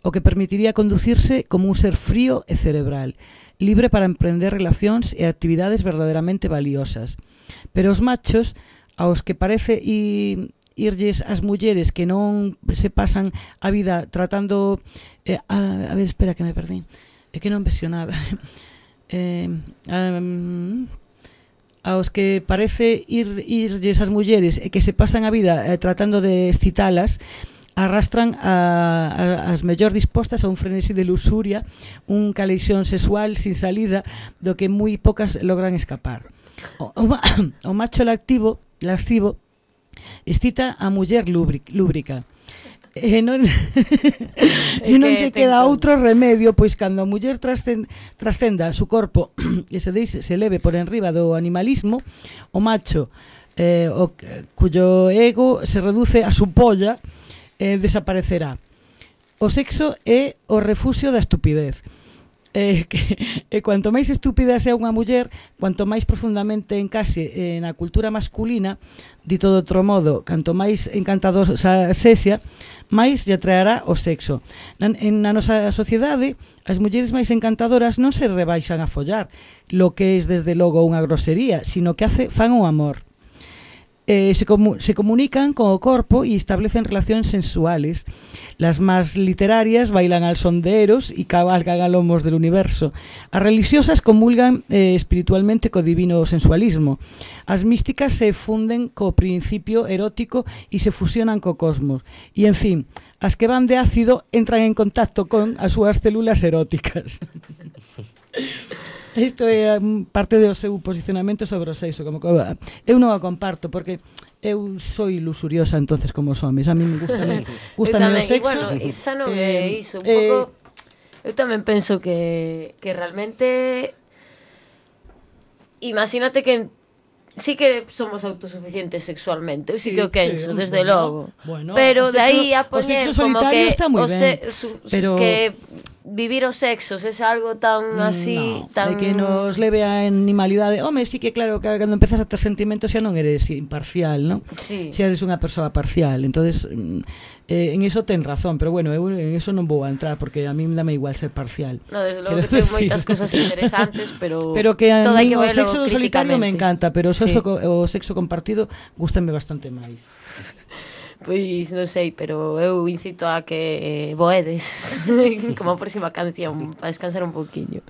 o que permitiría conducirse como un ser frío e cerebral, libre para emprender relacións e actividades verdadeiramente valiosas. Pero os machos, aos que parece e irlles as mulleres que non se pasan a vida tratando eh, a, a ver, espera que me perdí é que non vexo nada eh, um, aos que parece ir, irlles as mulleres e que se pasan a vida eh, tratando de excitalas, arrastran a, a, as mellor dispostas a un frenesí de luxuria, un caleixón sexual sin salida do que moi pocas logran escapar. O, o, o macho lactivo, lascivo excita a muller lúbrica e non e non lle queda outro remedio, pois cando a muller trascenda, trascenda su corpo e se deixe, se leve por enriba do animalismo, o macho eh, o, cuyo ego se reduce a su polla eh, desaparecerá. o sexo é o refuxio da estupidez. Eh, que, e cuanto máis estúpida sea unha muller, cuanto máis profundamente encase eh, na cultura masculina, dito de outro modo, canto máis encantadosa sexa, máis lle atraerá o sexo. Na, en, na nosa sociedade, as mulleres máis encantadoras non se rebaixan a follar, lo que é desde logo unha grosería, sino que hace, fan o amor. Eh, se, comu se comunican con o corpo e establecen relacións sensuales. Las más literarias bailan al son de Eros e cabalgan a lomos del universo. As religiosas comulgan eh, espiritualmente co divino sensualismo. As místicas se funden co principio erótico e se fusionan co cosmos. E, en fin, as que van de ácido entran en contacto con as súas células eróticas. Isto é parte do seu posicionamento sobre o sexo, como que eu non a comparto porque eu sou ilusuriosa entonces como os homes. A mí me gusta gusta o sexo. E bueno, xa non é iso, un pouco eu tamén penso que que realmente imagínate que sí que somos autosuficientes sexualmente, eu sí, sí que o quenso, sí, desde bueno, logo. Bueno, pero de aí a poñer como que o se, su, pero que vivir os sexos é algo tan así, no, tan... de que nos leve a animalidade. Home, sí que claro, que cando empezas a ter sentimentos xa non eres imparcial, non? Sí. Xa eres unha persoa parcial. Entonces, eh, en eso ten razón, pero bueno, eu en eso non vou a entrar porque a mí dame igual ser parcial. No, desde logo que ten moitas cosas interesantes, pero pero que a mí o sexo solitario me encanta, pero o sexo, sí. o sexo compartido gústame bastante máis. Pois non sei, pero eu incito a que voedes como a próxima canción para descansar un pouquiño.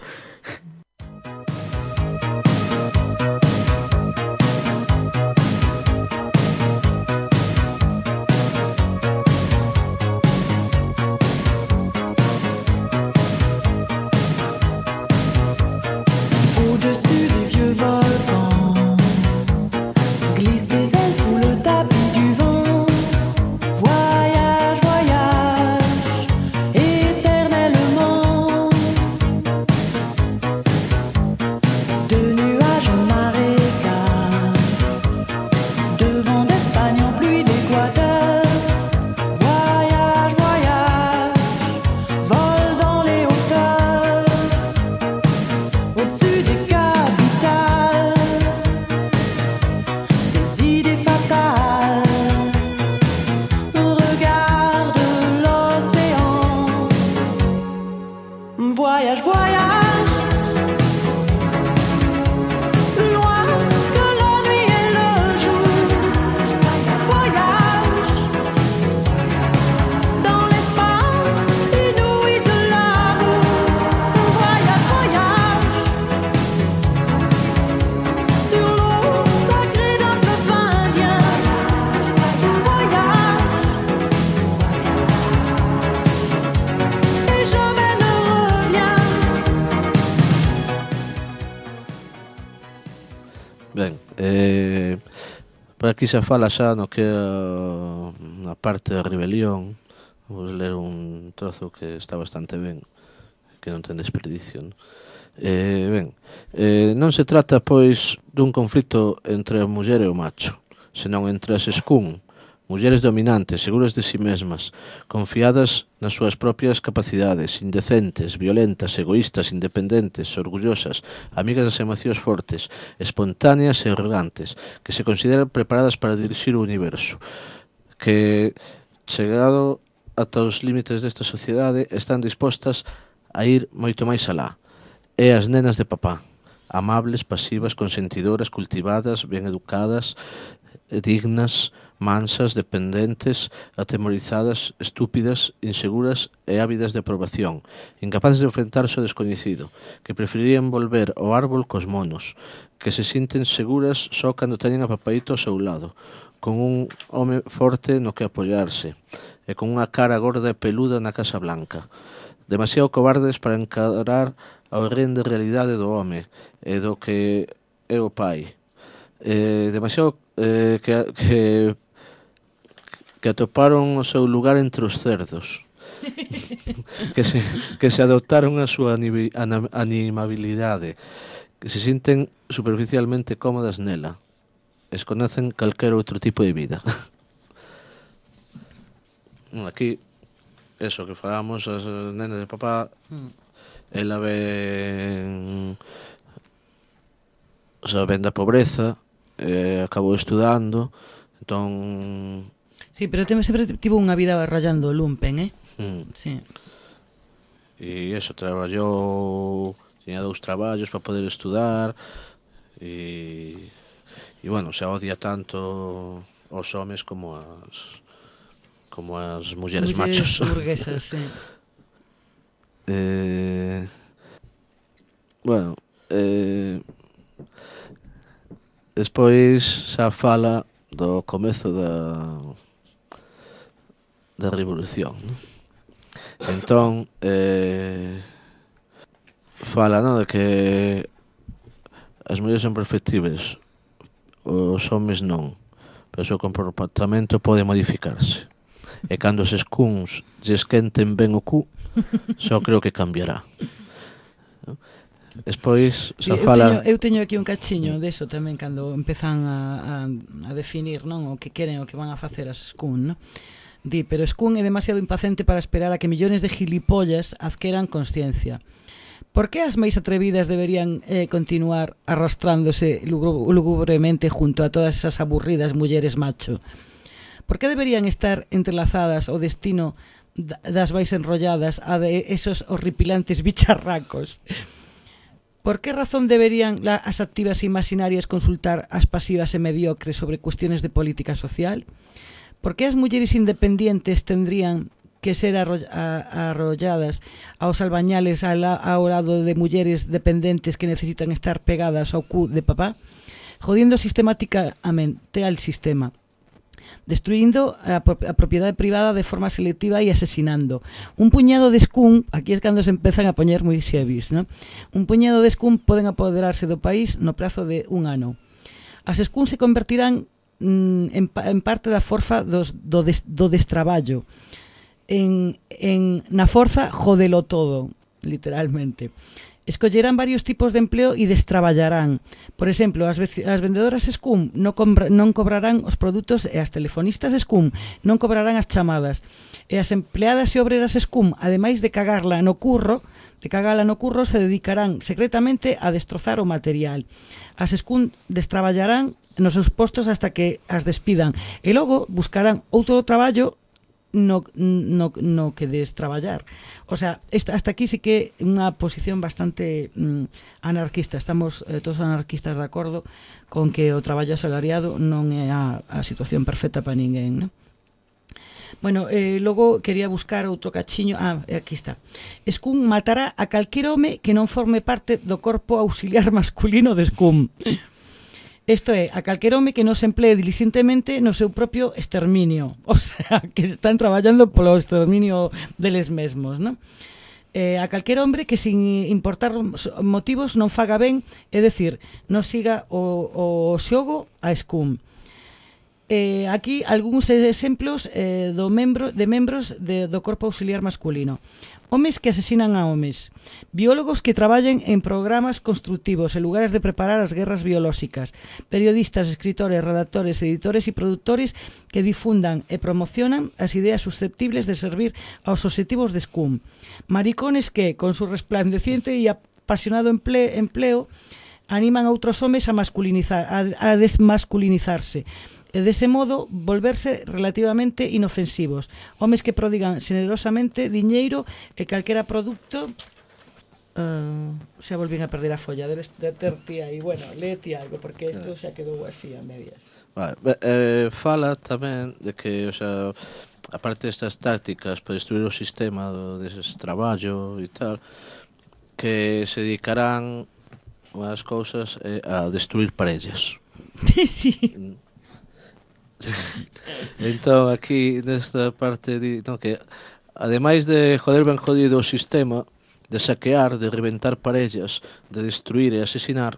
Ben, eh, por aquí xa fala xa no que é a parte da rebelión. Vou ler un trozo que está bastante ben, que non ten desperdicio, non? Eh, ben, eh, non se trata, pois, dun conflito entre a muller e o macho, senón entre as escún, mulleres dominantes, seguras de si mesmas, confiadas nas súas propias capacidades, indecentes, violentas, egoístas, independentes, orgullosas, amigas das emocións fortes, espontáneas e arrogantes, que se consideran preparadas para dirixir o universo, que, chegado ata os límites desta sociedade, están dispostas a ir moito máis alá. E as nenas de papá, amables, pasivas, consentidoras, cultivadas, ben educadas, dignas, mansas, dependentes, atemorizadas, estúpidas, inseguras e ávidas de aprobación, incapaces de enfrentarse ao descoñecido, que preferirían volver ao árbol cos monos, que se sinten seguras só cando teñen a papaíto ao seu lado, con un home forte no que apoiarse, e con unha cara gorda e peluda na Casa Blanca. Demasiado cobardes para encarar a horrenda realidade do home e do que é o pai. Eh, demasiado eh, que, que que atoparon o seu lugar entre os cerdos, que se, que se adoptaron a súa animabilidade, que se sinten superficialmente cómodas nela, desconocen calquer outro tipo de vida. Aquí eso que falamos, as nenas de papá, mm. ela ven, o sea, ven da pobreza, eh, acabou estudando, entón... Sí, pero sempre tivo unha vida rayando o lumpen, eh? Mm. Sí. E eso, traballou, tiña dous traballos para poder estudar, e, e bueno, se odia tanto os homes como as... como as mulleres, mulleres machos. Burguesas, sí. eh, bueno, eh, despois xa fala do comezo da da revolución, ¿no? Entón, eh, fala, ¿no?, de que as mulleres son perfectibles, os homes non, pero o seu comportamento pode modificarse. E cando os escuns lle esquenten ben o cu, só creo que cambiará. Despois, sí, xa fala... Eu teño, eu teño aquí un cachiño deso tamén, cando empezan a, a, a definir, non, o que queren, o que van a facer as escún, non? Di, pero escún é demasiado impaciente para esperar a que millones de gilipollas adqueran consciencia. Por que as máis atrevidas deberían eh, continuar arrastrándose lugubremente junto a todas esas aburridas mulleres macho? Por que deberían estar entrelazadas ao destino das máis enrolladas a de esos horripilantes bicharracos? Por que razón deberían as activas e imaginarias consultar as pasivas e mediocres sobre cuestiones de política social? Por que as mulleres independientes tendrían que ser arrolladas aos albañales ao lado de mulleres dependentes que necesitan estar pegadas ao cu de papá? Jodiendo sistemáticamente al sistema, destruyendo a, a propiedade privada de forma selectiva e asesinando. Un puñado de escún, aquí es cando se empezan a poñer moi xevis, ¿no? Un puñado de escún poden apoderarse do país no prazo de un ano. As escún se convertirán mm, en, en parte da forza dos, do, des, do destraballo. En, en, na forza, jodelo todo, literalmente. Escollerán varios tipos de empleo e destraballarán. Por exemplo, as, as vendedoras escún non, non cobrarán os produtos e as telefonistas escún non cobrarán as chamadas. E as empleadas e obreras escún, ademais de cagarla no curro, de cagala no curro, se dedicarán secretamente a destrozar o material. As escún destraballarán nos seus postos hasta que as despidan. E logo buscarán outro traballo no, no, no que destraballar. O sea, esta, hasta aquí sí que é unha posición bastante mm, anarquista. Estamos eh, todos anarquistas de acordo con que o traballo asalariado non é a, a situación perfecta para ninguén, non? Bueno, eh, logo quería buscar outro cachiño. Ah, aquí está. Escún matará a calquer home que non forme parte do corpo auxiliar masculino de escún. Isto é, a calquer home que non se emplee diligentemente no seu propio exterminio. O sea, que están traballando polo exterminio deles mesmos, non? Eh, a calquer hombre que sin importar motivos non faga ben, é dicir, non siga o, o xogo a escún. Eh, aquí algúns exemplos eh, do membro, de membros de, do corpo auxiliar masculino. Homes que asesinan a homes, biólogos que traballen en programas constructivos en lugares de preparar as guerras biolóxicas, periodistas, escritores, redactores, editores e produtores que difundan e promocionan as ideas susceptibles de servir aos obxectivos de escún, maricones que, con su resplandeciente e apasionado empleo, empleo animan a outros homes a, masculinizar, a, a desmasculinizarse, e dese modo volverse relativamente inofensivos. Homes que prodigan generosamente diñeiro e calquera produto. Uh, xa volvín a perder a folla, debes de ter ti aí. Bueno, léete algo, porque isto xa quedou así a medias. Vale, eh, fala tamén de que, o sea, aparte destas tácticas para destruir o sistema do destraballo e tal, que se dedicarán unhas cousas eh, a destruir parellas. Sí. Entón, aquí, nesta parte, di, no, que ademais de joder ben jodido o sistema, de saquear, de reventar parellas, de destruir e asesinar,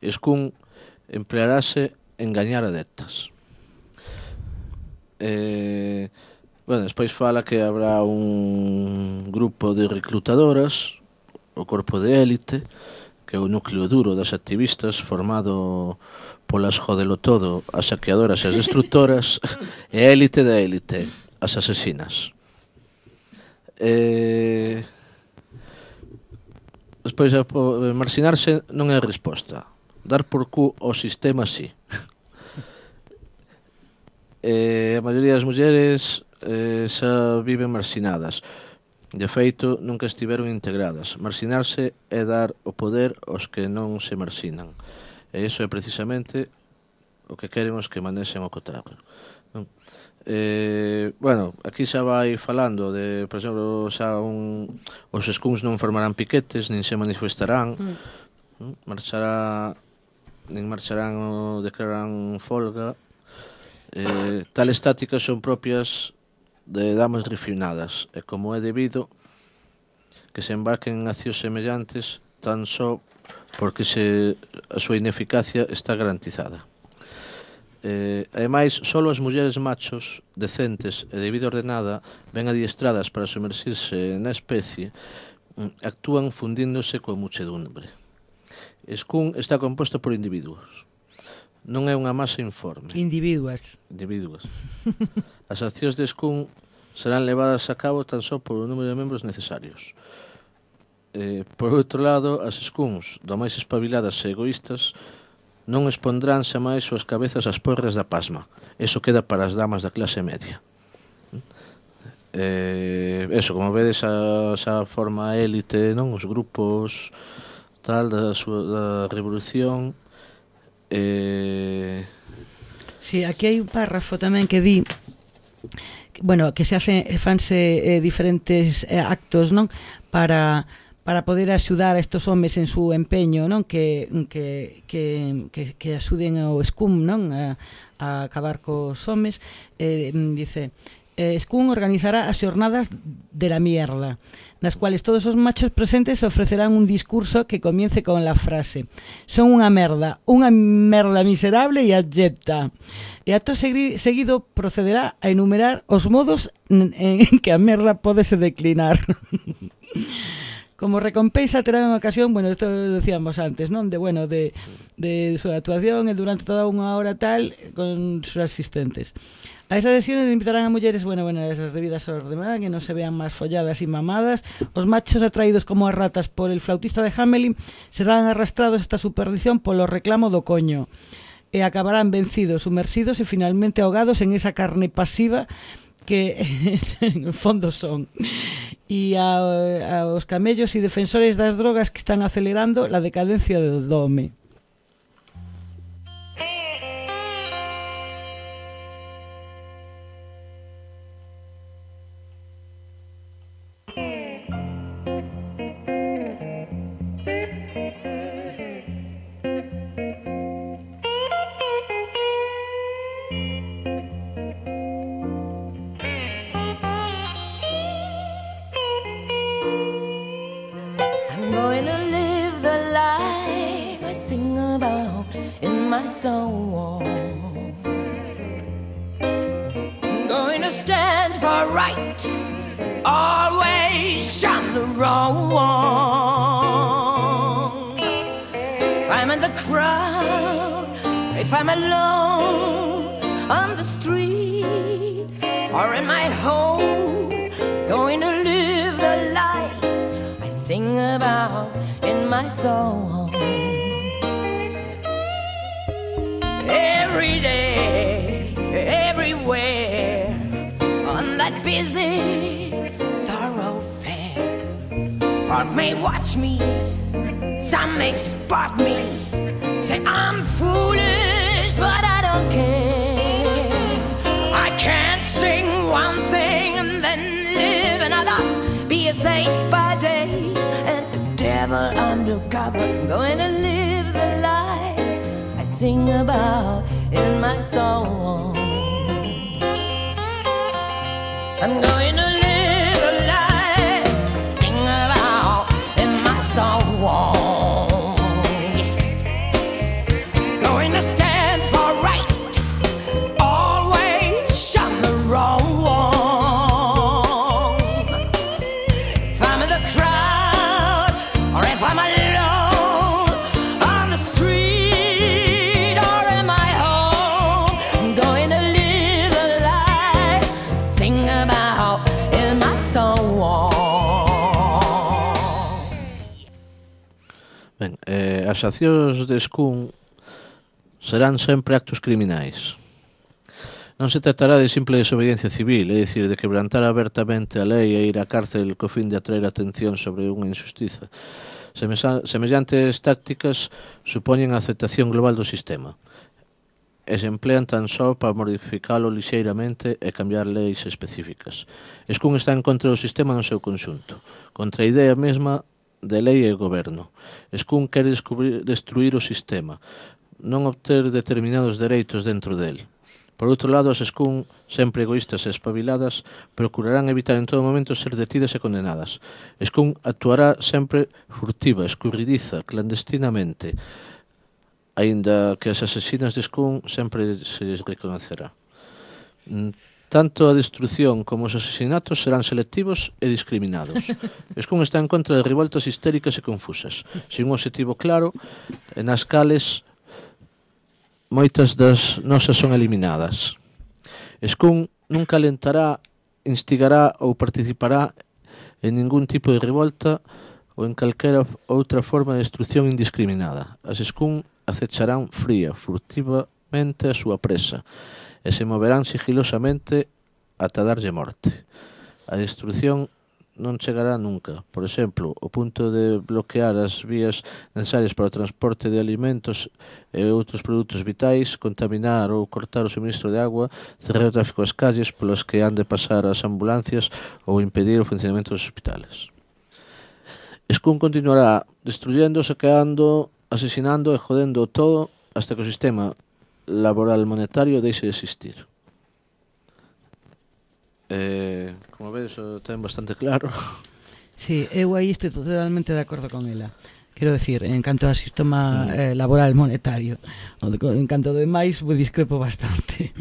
escún emplearase en gañar adeptas. Eh, bueno, despois fala que habrá un grupo de reclutadoras, o corpo de élite, que é o núcleo duro das activistas, formado polas jodelo todo, as saqueadoras e as destructoras, e a élite da élite, as asesinas. Eh, despois, marxinarse non é a resposta. Dar por cu ao sistema, sí. eh, a maioría das mulleres eh, xa viven marxinadas. De feito, nunca estiveron integradas. Marxinarse é dar o poder aos que non se marxinan. E iso é precisamente o que queren os que manexen o cotarro. Non? Eh, bueno, aquí xa vai falando de, por exemplo, xa un, os escuns non formarán piquetes, nin se manifestarán, mm. marchará, nin marcharán ou declararán folga. Eh, tales tácticas son propias de damas refinadas, e como é debido que se embarquen en accións semellantes tan só porque se, a súa ineficacia está garantizada. Eh, ademais, só as mulleres machos decentes e de vida ordenada, ben adiestradas para sumerxirse na especie, actúan fundíndose coa muchedumbre. Escún está composta por individuos. Non é unha masa informe. Individuas. Individuas. As accións de Escún serán levadas a cabo tan só por o número de membros necesarios. Eh, por outro lado, as Escúns, do máis espabiladas e egoístas, non expondrán xa máis suas cabezas ás porras da pasma. Eso queda para as damas da clase media. Eh, eso, como vedes, a, xa forma élite, non? Os grupos tal da, súa, da revolución. Eh... Sí, aquí hai un párrafo tamén que di, bueno, que se hacen, fanse eh, diferentes eh, actos, non? Para para poder axudar a estos homes en su empeño, non? Que que que que, que axuden ao Escún, non? A, a acabar cos homes. Eh, dice, eh, Escún organizará as xornadas de la mierda, nas cuales todos os machos presentes ofrecerán un discurso que comience con la frase: son unha merda, unha merda miserable e abyecta. E acto seguido procederá a enumerar os modos en que a merda pode se declinar. Como recompensa terán unha ocasión, bueno, isto decíamos antes, non? De, bueno, de, de súa actuación e durante toda unha hora tal con sus asistentes. A esas sesiones invitarán a mulleres, bueno, bueno, esas debidas horas de mañá, que non se vean máis folladas e mamadas. Os machos atraídos como as ratas por el flautista de Hamelin serán arrastrados esta superdición polo reclamo do coño e acabarán vencidos, sumersidos e finalmente ahogados en esa carne pasiva que en el fondo son. E a, a os camellos e defensores das drogas que están acelerando la decadencia do home. Song. I'm going to stand for right, always shun the wrong. If I'm in the crowd, if I'm alone on the street or in my home, going to live the life I sing about in my song. Every day, everywhere, on that busy thoroughfare. Part may watch me, some may spot me, say I'm foolish, but I don't care. I can't sing one thing and then live another, be a saint by day and a devil undercover. I'm going to live the life I sing about in my song. I'm going to live a life I sing about in my song. Yes, going to stand for right, always shun the wrong. If I'm in the crowd or if I'm alone on the street, as accións de Escún serán sempre actos criminais. Non se tratará de simple desobediencia civil, é dicir, de quebrantar abertamente a lei e ir á cárcel co fin de atraer atención sobre unha injustiza. Semellantes tácticas supoñen a aceptación global do sistema e se emplean tan só para modificalo lixeiramente e cambiar leis específicas. Escún está en contra do sistema no seu conxunto, contra a idea mesma de lei e goberno. Escún quere destruir o sistema, non obter determinados dereitos dentro del. Por outro lado, as Escún, sempre egoístas e espabiladas, procurarán evitar en todo momento ser detidas e condenadas. Escún actuará sempre furtiva, escurridiza, clandestinamente, aínda que as asesinas de Escún sempre se les reconocerá. Tanto a destrucción como os asesinatos serán selectivos e discriminados. Escún está en contra de revoltas histéricas e confusas, sin un objetivo claro, e nas cales moitas das nosas son eliminadas. Escún nunca alentará, instigará ou participará en ningún tipo de revolta ou en calquera outra forma de destrucción indiscriminada. As Escún acecharán fría, furtivamente a súa presa e se moverán sigilosamente ata darlle morte. A destrucción non chegará nunca. Por exemplo, o punto de bloquear as vías necesarias para o transporte de alimentos e outros produtos vitais, contaminar ou cortar o suministro de agua, cerrar o tráfico ás calles polas que han de pasar as ambulancias ou impedir o funcionamento dos hospitales. Escún continuará destruyendo, saqueando, asesinando e jodendo todo hasta que o sistema laboral monetario deixe de existir. Eh, como vedes, o ten bastante claro. Sí, eu aí estou totalmente de acordo con ela. Quero decir, en canto ao sistema eh, laboral monetario, en canto do demais, discrepo bastante.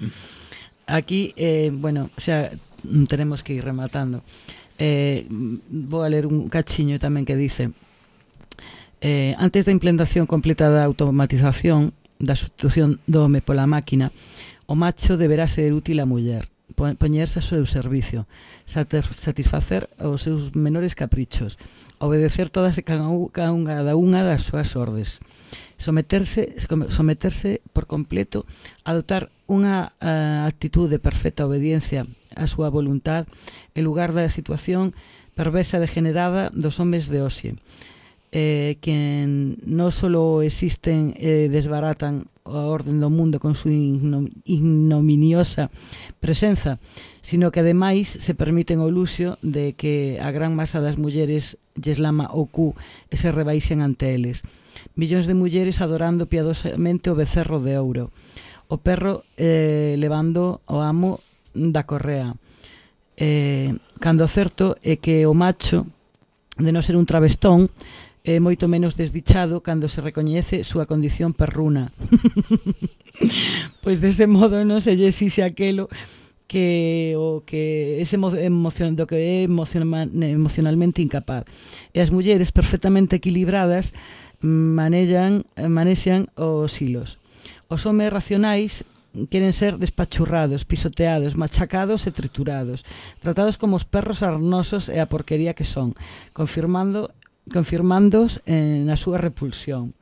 Aquí, eh, bueno, xa tenemos que ir rematando. Eh, vou a ler un cachiño tamén que dice: eh, antes da implementación completa da automatización, da sustitución do home pola máquina, o macho deberá ser útil á muller, poñerse a seu servicio, satisfacer os seus menores caprichos, obedecer todas e cada unha das súas ordes, someterse, someterse por completo, adoptar unha uh, actitud de perfecta obediencia á súa voluntad en lugar da situación perversa degenerada dos homes de hoxe, eh, que non só existen e eh, desbaratan a orden do mundo con súa ignominiosa presenza, sino que ademais se permiten o luxo de que a gran masa das mulleres lles lama o cu e se rebaixen ante eles. Millóns de mulleres adorando piadosamente o becerro de ouro, o perro eh, levando o amo da correa. Eh, cando o certo é que o macho, de non ser un travestón, é moito menos desdichado cando se recoñece súa condición perruna. Pois dese modo non se lle exixe aquelo que o que ese emocion, do que é emociona, emocionalmente incapaz. E as mulleres perfectamente equilibradas manexan, manexan os hilos. Os homes racionais queren ser despachurrados, pisoteados, machacados e triturados, tratados como os perros arnosos e a porquería que son, confirmando confirmándoos eh, na súa repulsión.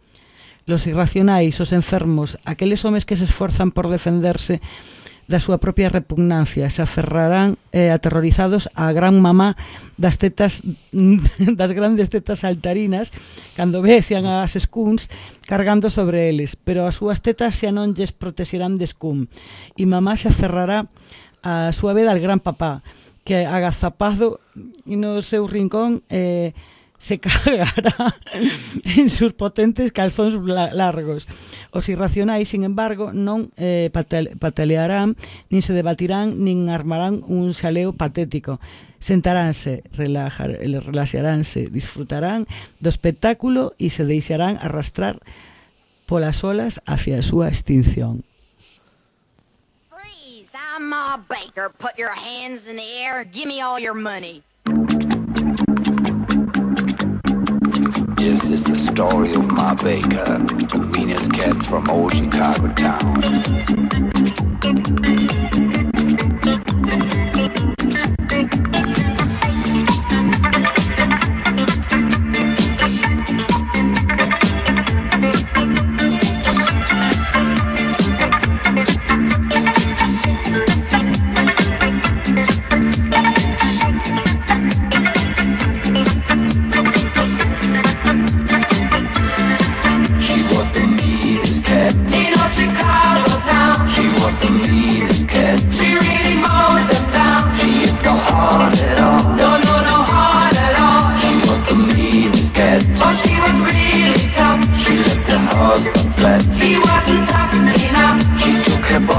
Los irracionais, os enfermos, aqueles homes que se esforzan por defenderse da súa propia repugnancia, se aferrarán eh, aterrorizados á gran mamá das tetas das grandes tetas saltarinas cando vexan as Escuns cargando sobre eles, pero as súas tetas xa non lles protexerán de Escún, e mamá se aferrará a súa vez al gran papá, que agazapado no seu rincón eh, se cagará en sus potentes calzóns largos. Os irracionais, sin embargo, non eh, patalearán, nin se debatirán, nin armarán un xaleo patético. Sentaránse, relajar, relaxaránse, disfrutarán do espectáculo e se deixarán arrastrar polas olas hacia a súa extinción. Freeze! I'm Ma Baker. Put your hands in the air. Give me all your money. This is the story of Ma Baker, the meanest cat from old Chicago town.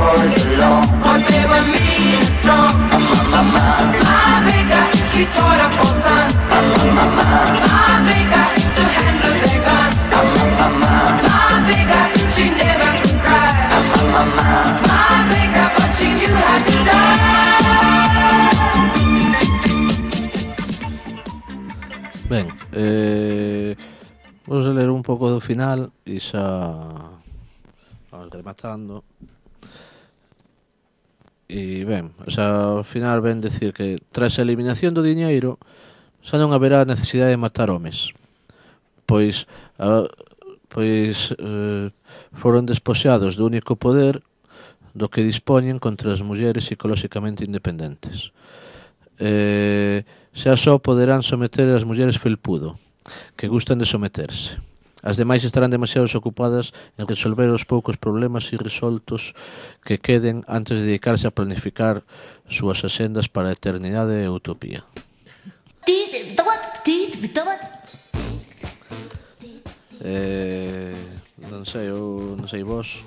for so long. Cause they were mean and strong. My, my, my, my baker, she taught up her sons. My, my, my, my baker, to handle their guns. My, my, my, my baker, she never could cry. My, my, my, my baker, but she knew how to die. Ben, eh, vamos a ler un pouco do final e xa vamos rematando. E ben, o sea, ao final ven decir que tras a eliminación do diñeiro xa non haberá necesidade de matar homes, pois a, pois eh, foron despoxados do único poder do que dispoñen contra as mulleres psicolóxicamente independentes. Eh, xa só poderán someter as mulleres felpudo, que gustan de someterse. As demais estarán demasiado ocupadas en resolver os poucos problemas irresoltos que queden antes de dedicarse a planificar súas axendas para a eternidade e a utopía. Eh, non sei, eu non sei vos,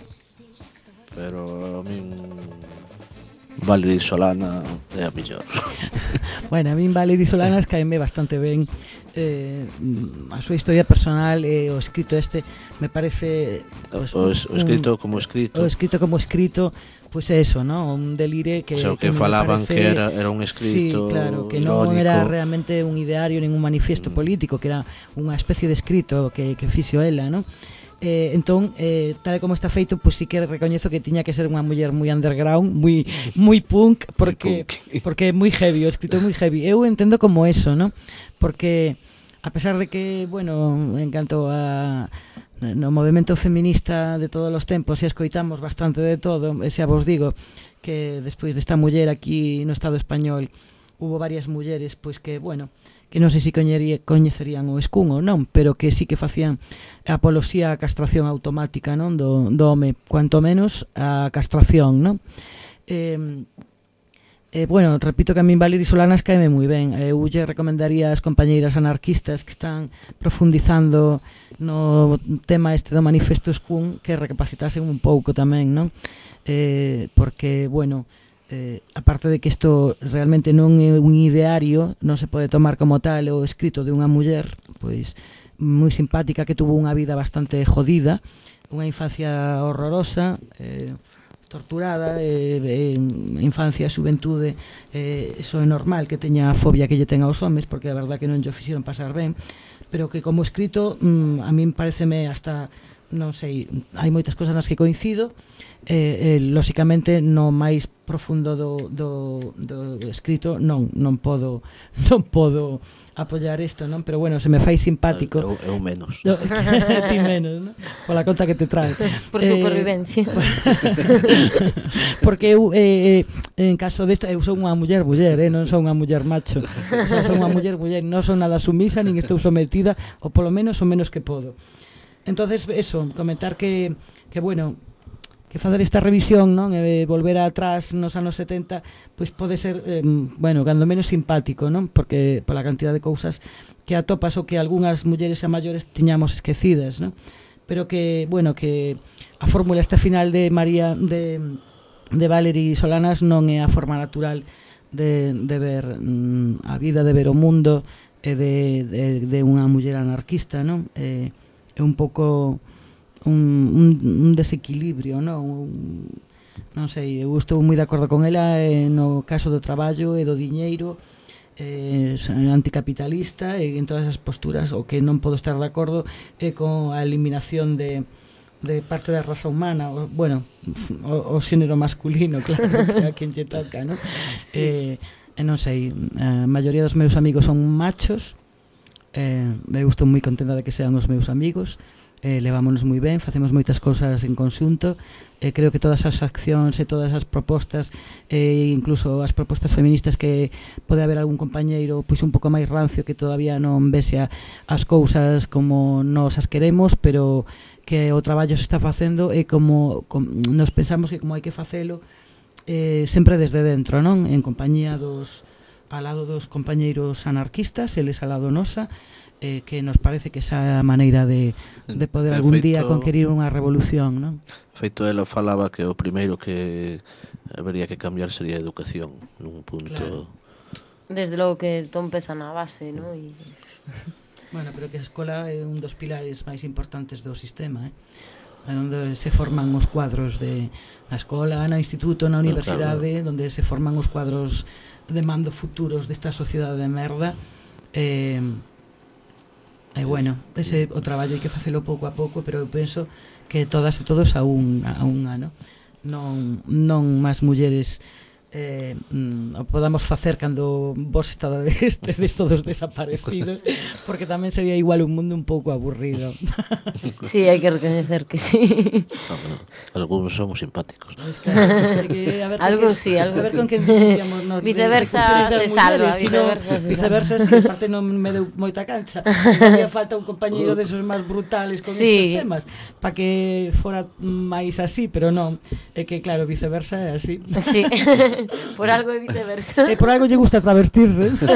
pero a min Valerie Solana é a mellor. Bueno, a min Valerie Solanas caeme bastante ben. Eh, a súa historia personal e o escrito este me parece pues, o, o escrito un, como escrito o escrito como escrito pois pues é eso, ¿no? Un delire que, o sea, que, que falaban parece, que era, era un escrito, sí, claro, que irónico. Non era realmente un ideario nin un manifesto mm. político, que era unha especie de escrito que, que fixo ela, ¿no? Eh, entón, eh, tal como está feito, pois pues sí que recoñezo que tiña que ser unha muller moi underground, moi moi punk, porque punk. Porque é moi heavy, o escrito é moi heavy. Eu entendo como eso, ¿no? Porque a pesar de que, bueno, en canto a no movemento feminista de todos os tempos e escoitamos bastante de todo, e xa vos digo que despois desta muller aquí no Estado español hubo varias mulleres pois que, bueno, que non sei se coñecerían o escún ou non, pero que sí que facían apoloxía á castración automática, non, do, do home, cuanto menos a castración, non? Eh, eh, bueno, repito que a min Valerie Solanas caeme moi ben. Eu lle recomendaría ás compañeiras anarquistas que están profundizando no tema este do manifesto escún que recapacitasen un pouco tamén, non? Eh, porque, bueno, Eh, aparte de que isto realmente non é un ideario, non se pode tomar como tal o escrito de unha muller pois moi simpática que tuvo unha vida bastante jodida, unha infancia horrorosa, eh, torturada, eh, eh, infancia, xuventude, eh, eso é normal que teña a fobia que lle ten aos homes, porque a verdad que non lle fixeron pasar ben, pero que como escrito mm, a min pareceme hasta, non sei, hai moitas cosas nas que coincido. Eh, eh, lóxicamente no máis profundo do, do, do escrito non non podo non podo apoiar isto, non? Pero bueno, se me fai simpático. Eu, eu menos. Ti menos, non? Pola conta que te traes. Por supervivencia. Eh, porque eu eh, en caso desta eu son unha muller muller, eh, non son unha muller macho. O sea, son unha muller muller, non son nada sumisa nin estou sometida, ou polo menos o menos que podo. Entonces, eso, comentar que que bueno, que facer esta revisión, non, e volver atrás nos anos setenta, pois pode ser, eh, bueno, cando menos simpático, non? Porque pola cantidad de cousas que atopas ou que algunhas mulleres a maiores tiñamos esquecidas, non? Pero que, bueno, que a fórmula esta final de María de de Valerie Solanas non é a forma natural de de ver mm, a vida, de ver o mundo e de de de unha muller anarquista, non? Eh, é un pouco Un, un, un desequilibrio, non? Un, non sei, eu estou moi de acordo con ela eh, no caso do traballo e do diñeiro, eh, anticapitalista e en todas as posturas. O que non podo estar de acordo é con a eliminación de, de parte da raza humana, o, bueno, o, o xénero masculino, claro, que a quen lle toca, non? Sí. Eh, non sei, a maioría dos meus amigos son machos, eh, eu estou moi contenta de que sean os meus amigos. Eh, levámonos moi ben, facemos moitas cousas en conxunto, eh, creo que todas as accións e todas as propostas, e eh, incluso as propostas feministas, que pode haber algún compañeiro pois un pouco máis rancio que todavía non vese as cousas como nos as queremos, pero que o traballo se está facendo e como, como nos pensamos que como hai que facelo, eh, sempre desde dentro, non? En compañía dos ao lado dos compañeiros anarquistas, eles ao lado nosa, eh, que nos parece que esa maneira de, de poder algún día conquerir unha revolución, non? Feito, ela falaba que o primeiro que habería que cambiar sería a educación nun punto... Claro. Desde logo que todo empeza na base, non? E... Bueno, pero que a escola é un dos pilares máis importantes do sistema, eh? Onde se forman os cuadros de na escola, no instituto, na universidade, claro, onde se forman os cuadros de mando futuros desta sociedade de merda. Eh, e bueno, ese o traballo hai que facelo pouco a pouco, pero eu penso que todas e todos a un a unha, no? Non non máis mulleres eh, mm, podamos facer cando vos estades estedes todos desaparecidos, porque tamén sería igual un mundo un pouco aburrido. Sí, hai que recoñecer que sí. No, bueno, algúns somos simpáticos. Es claro, que, a ver, algúns sí, algúns sí. Nos viceversa se salva, viceversa, se viceversa, si sí, parte non me deu moita cancha. Había falta un compañeiro desos máis brutales con sí. estes temas, para que fora máis así, pero non, é que claro, viceversa é así. Sí. Por algo é viceversa. E por algo lle gusta travestirse. Nos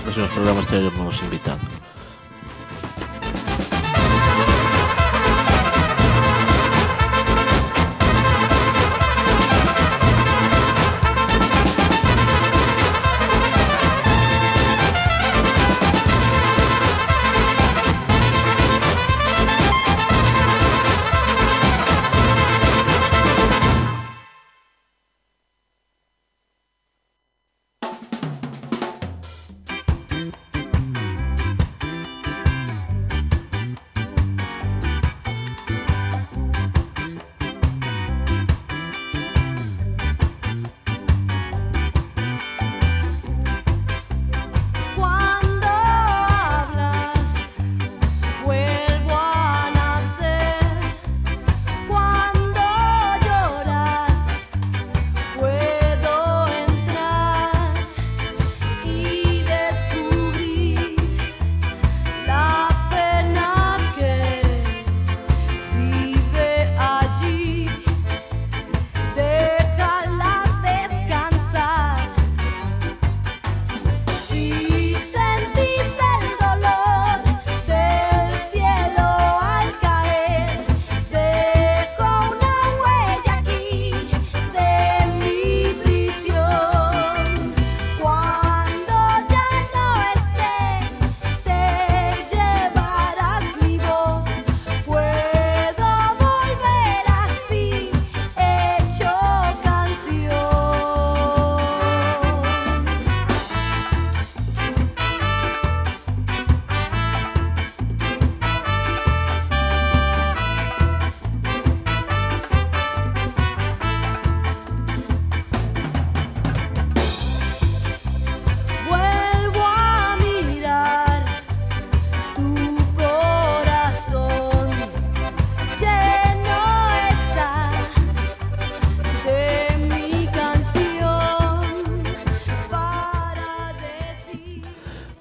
próximos programas teremos invitado.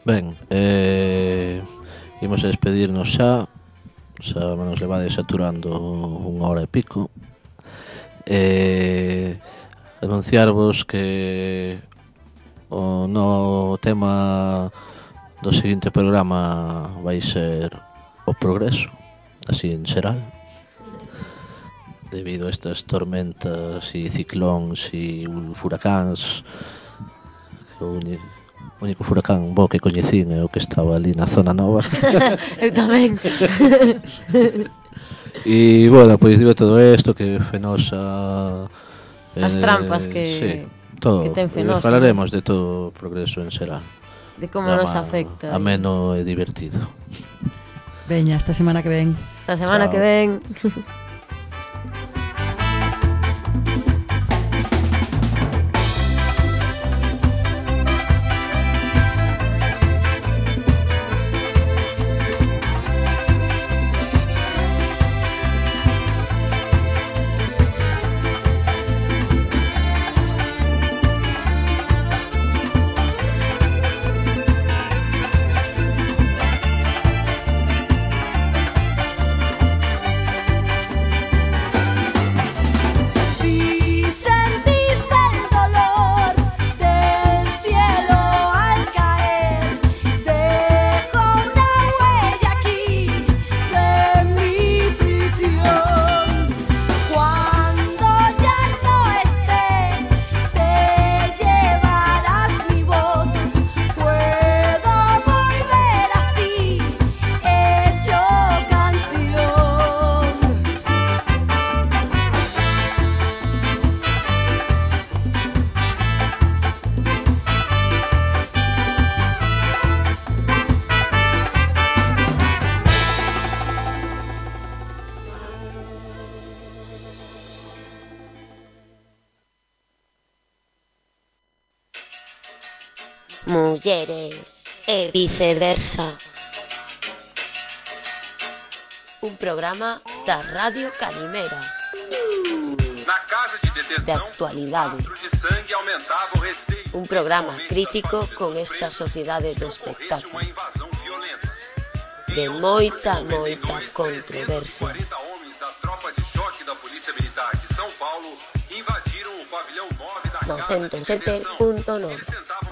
Ben, eh, imos a despedirnos xa. Xa nos levades saturando unha hora e pico. Eh, anunciarvos que o no tema do seguinte programa vai ser o progreso, así en xeral, debido a estas tormentas e ciclóns e furacáns. O único furacán bo que coñecín é o que estaba ali na zona nova. Eu tamén. E, bueno, pois digo todo isto que Fenosa... As eh, trampas que, sí, todo, que ten Fenosa. Falaremos de todo o progreso en xeral. De como nos afecta. Ameno e divertido. Veña, esta semana que ven. Esta semana Chao. que ven. mulleres e viceversa. Un programa da Radio Calimera. Na casa de detenção, de actualidade. o de sangue aumentava o receio. Un programa crítico con esta sociedade do espectáculo. Uma invasão violenta. De moita, moita controversia. quarenta homens da tropa de choque da Polícia Militar de São Paulo invadiram o pavilhão nove da casa de noventa e sete punto nove. Eles tentavam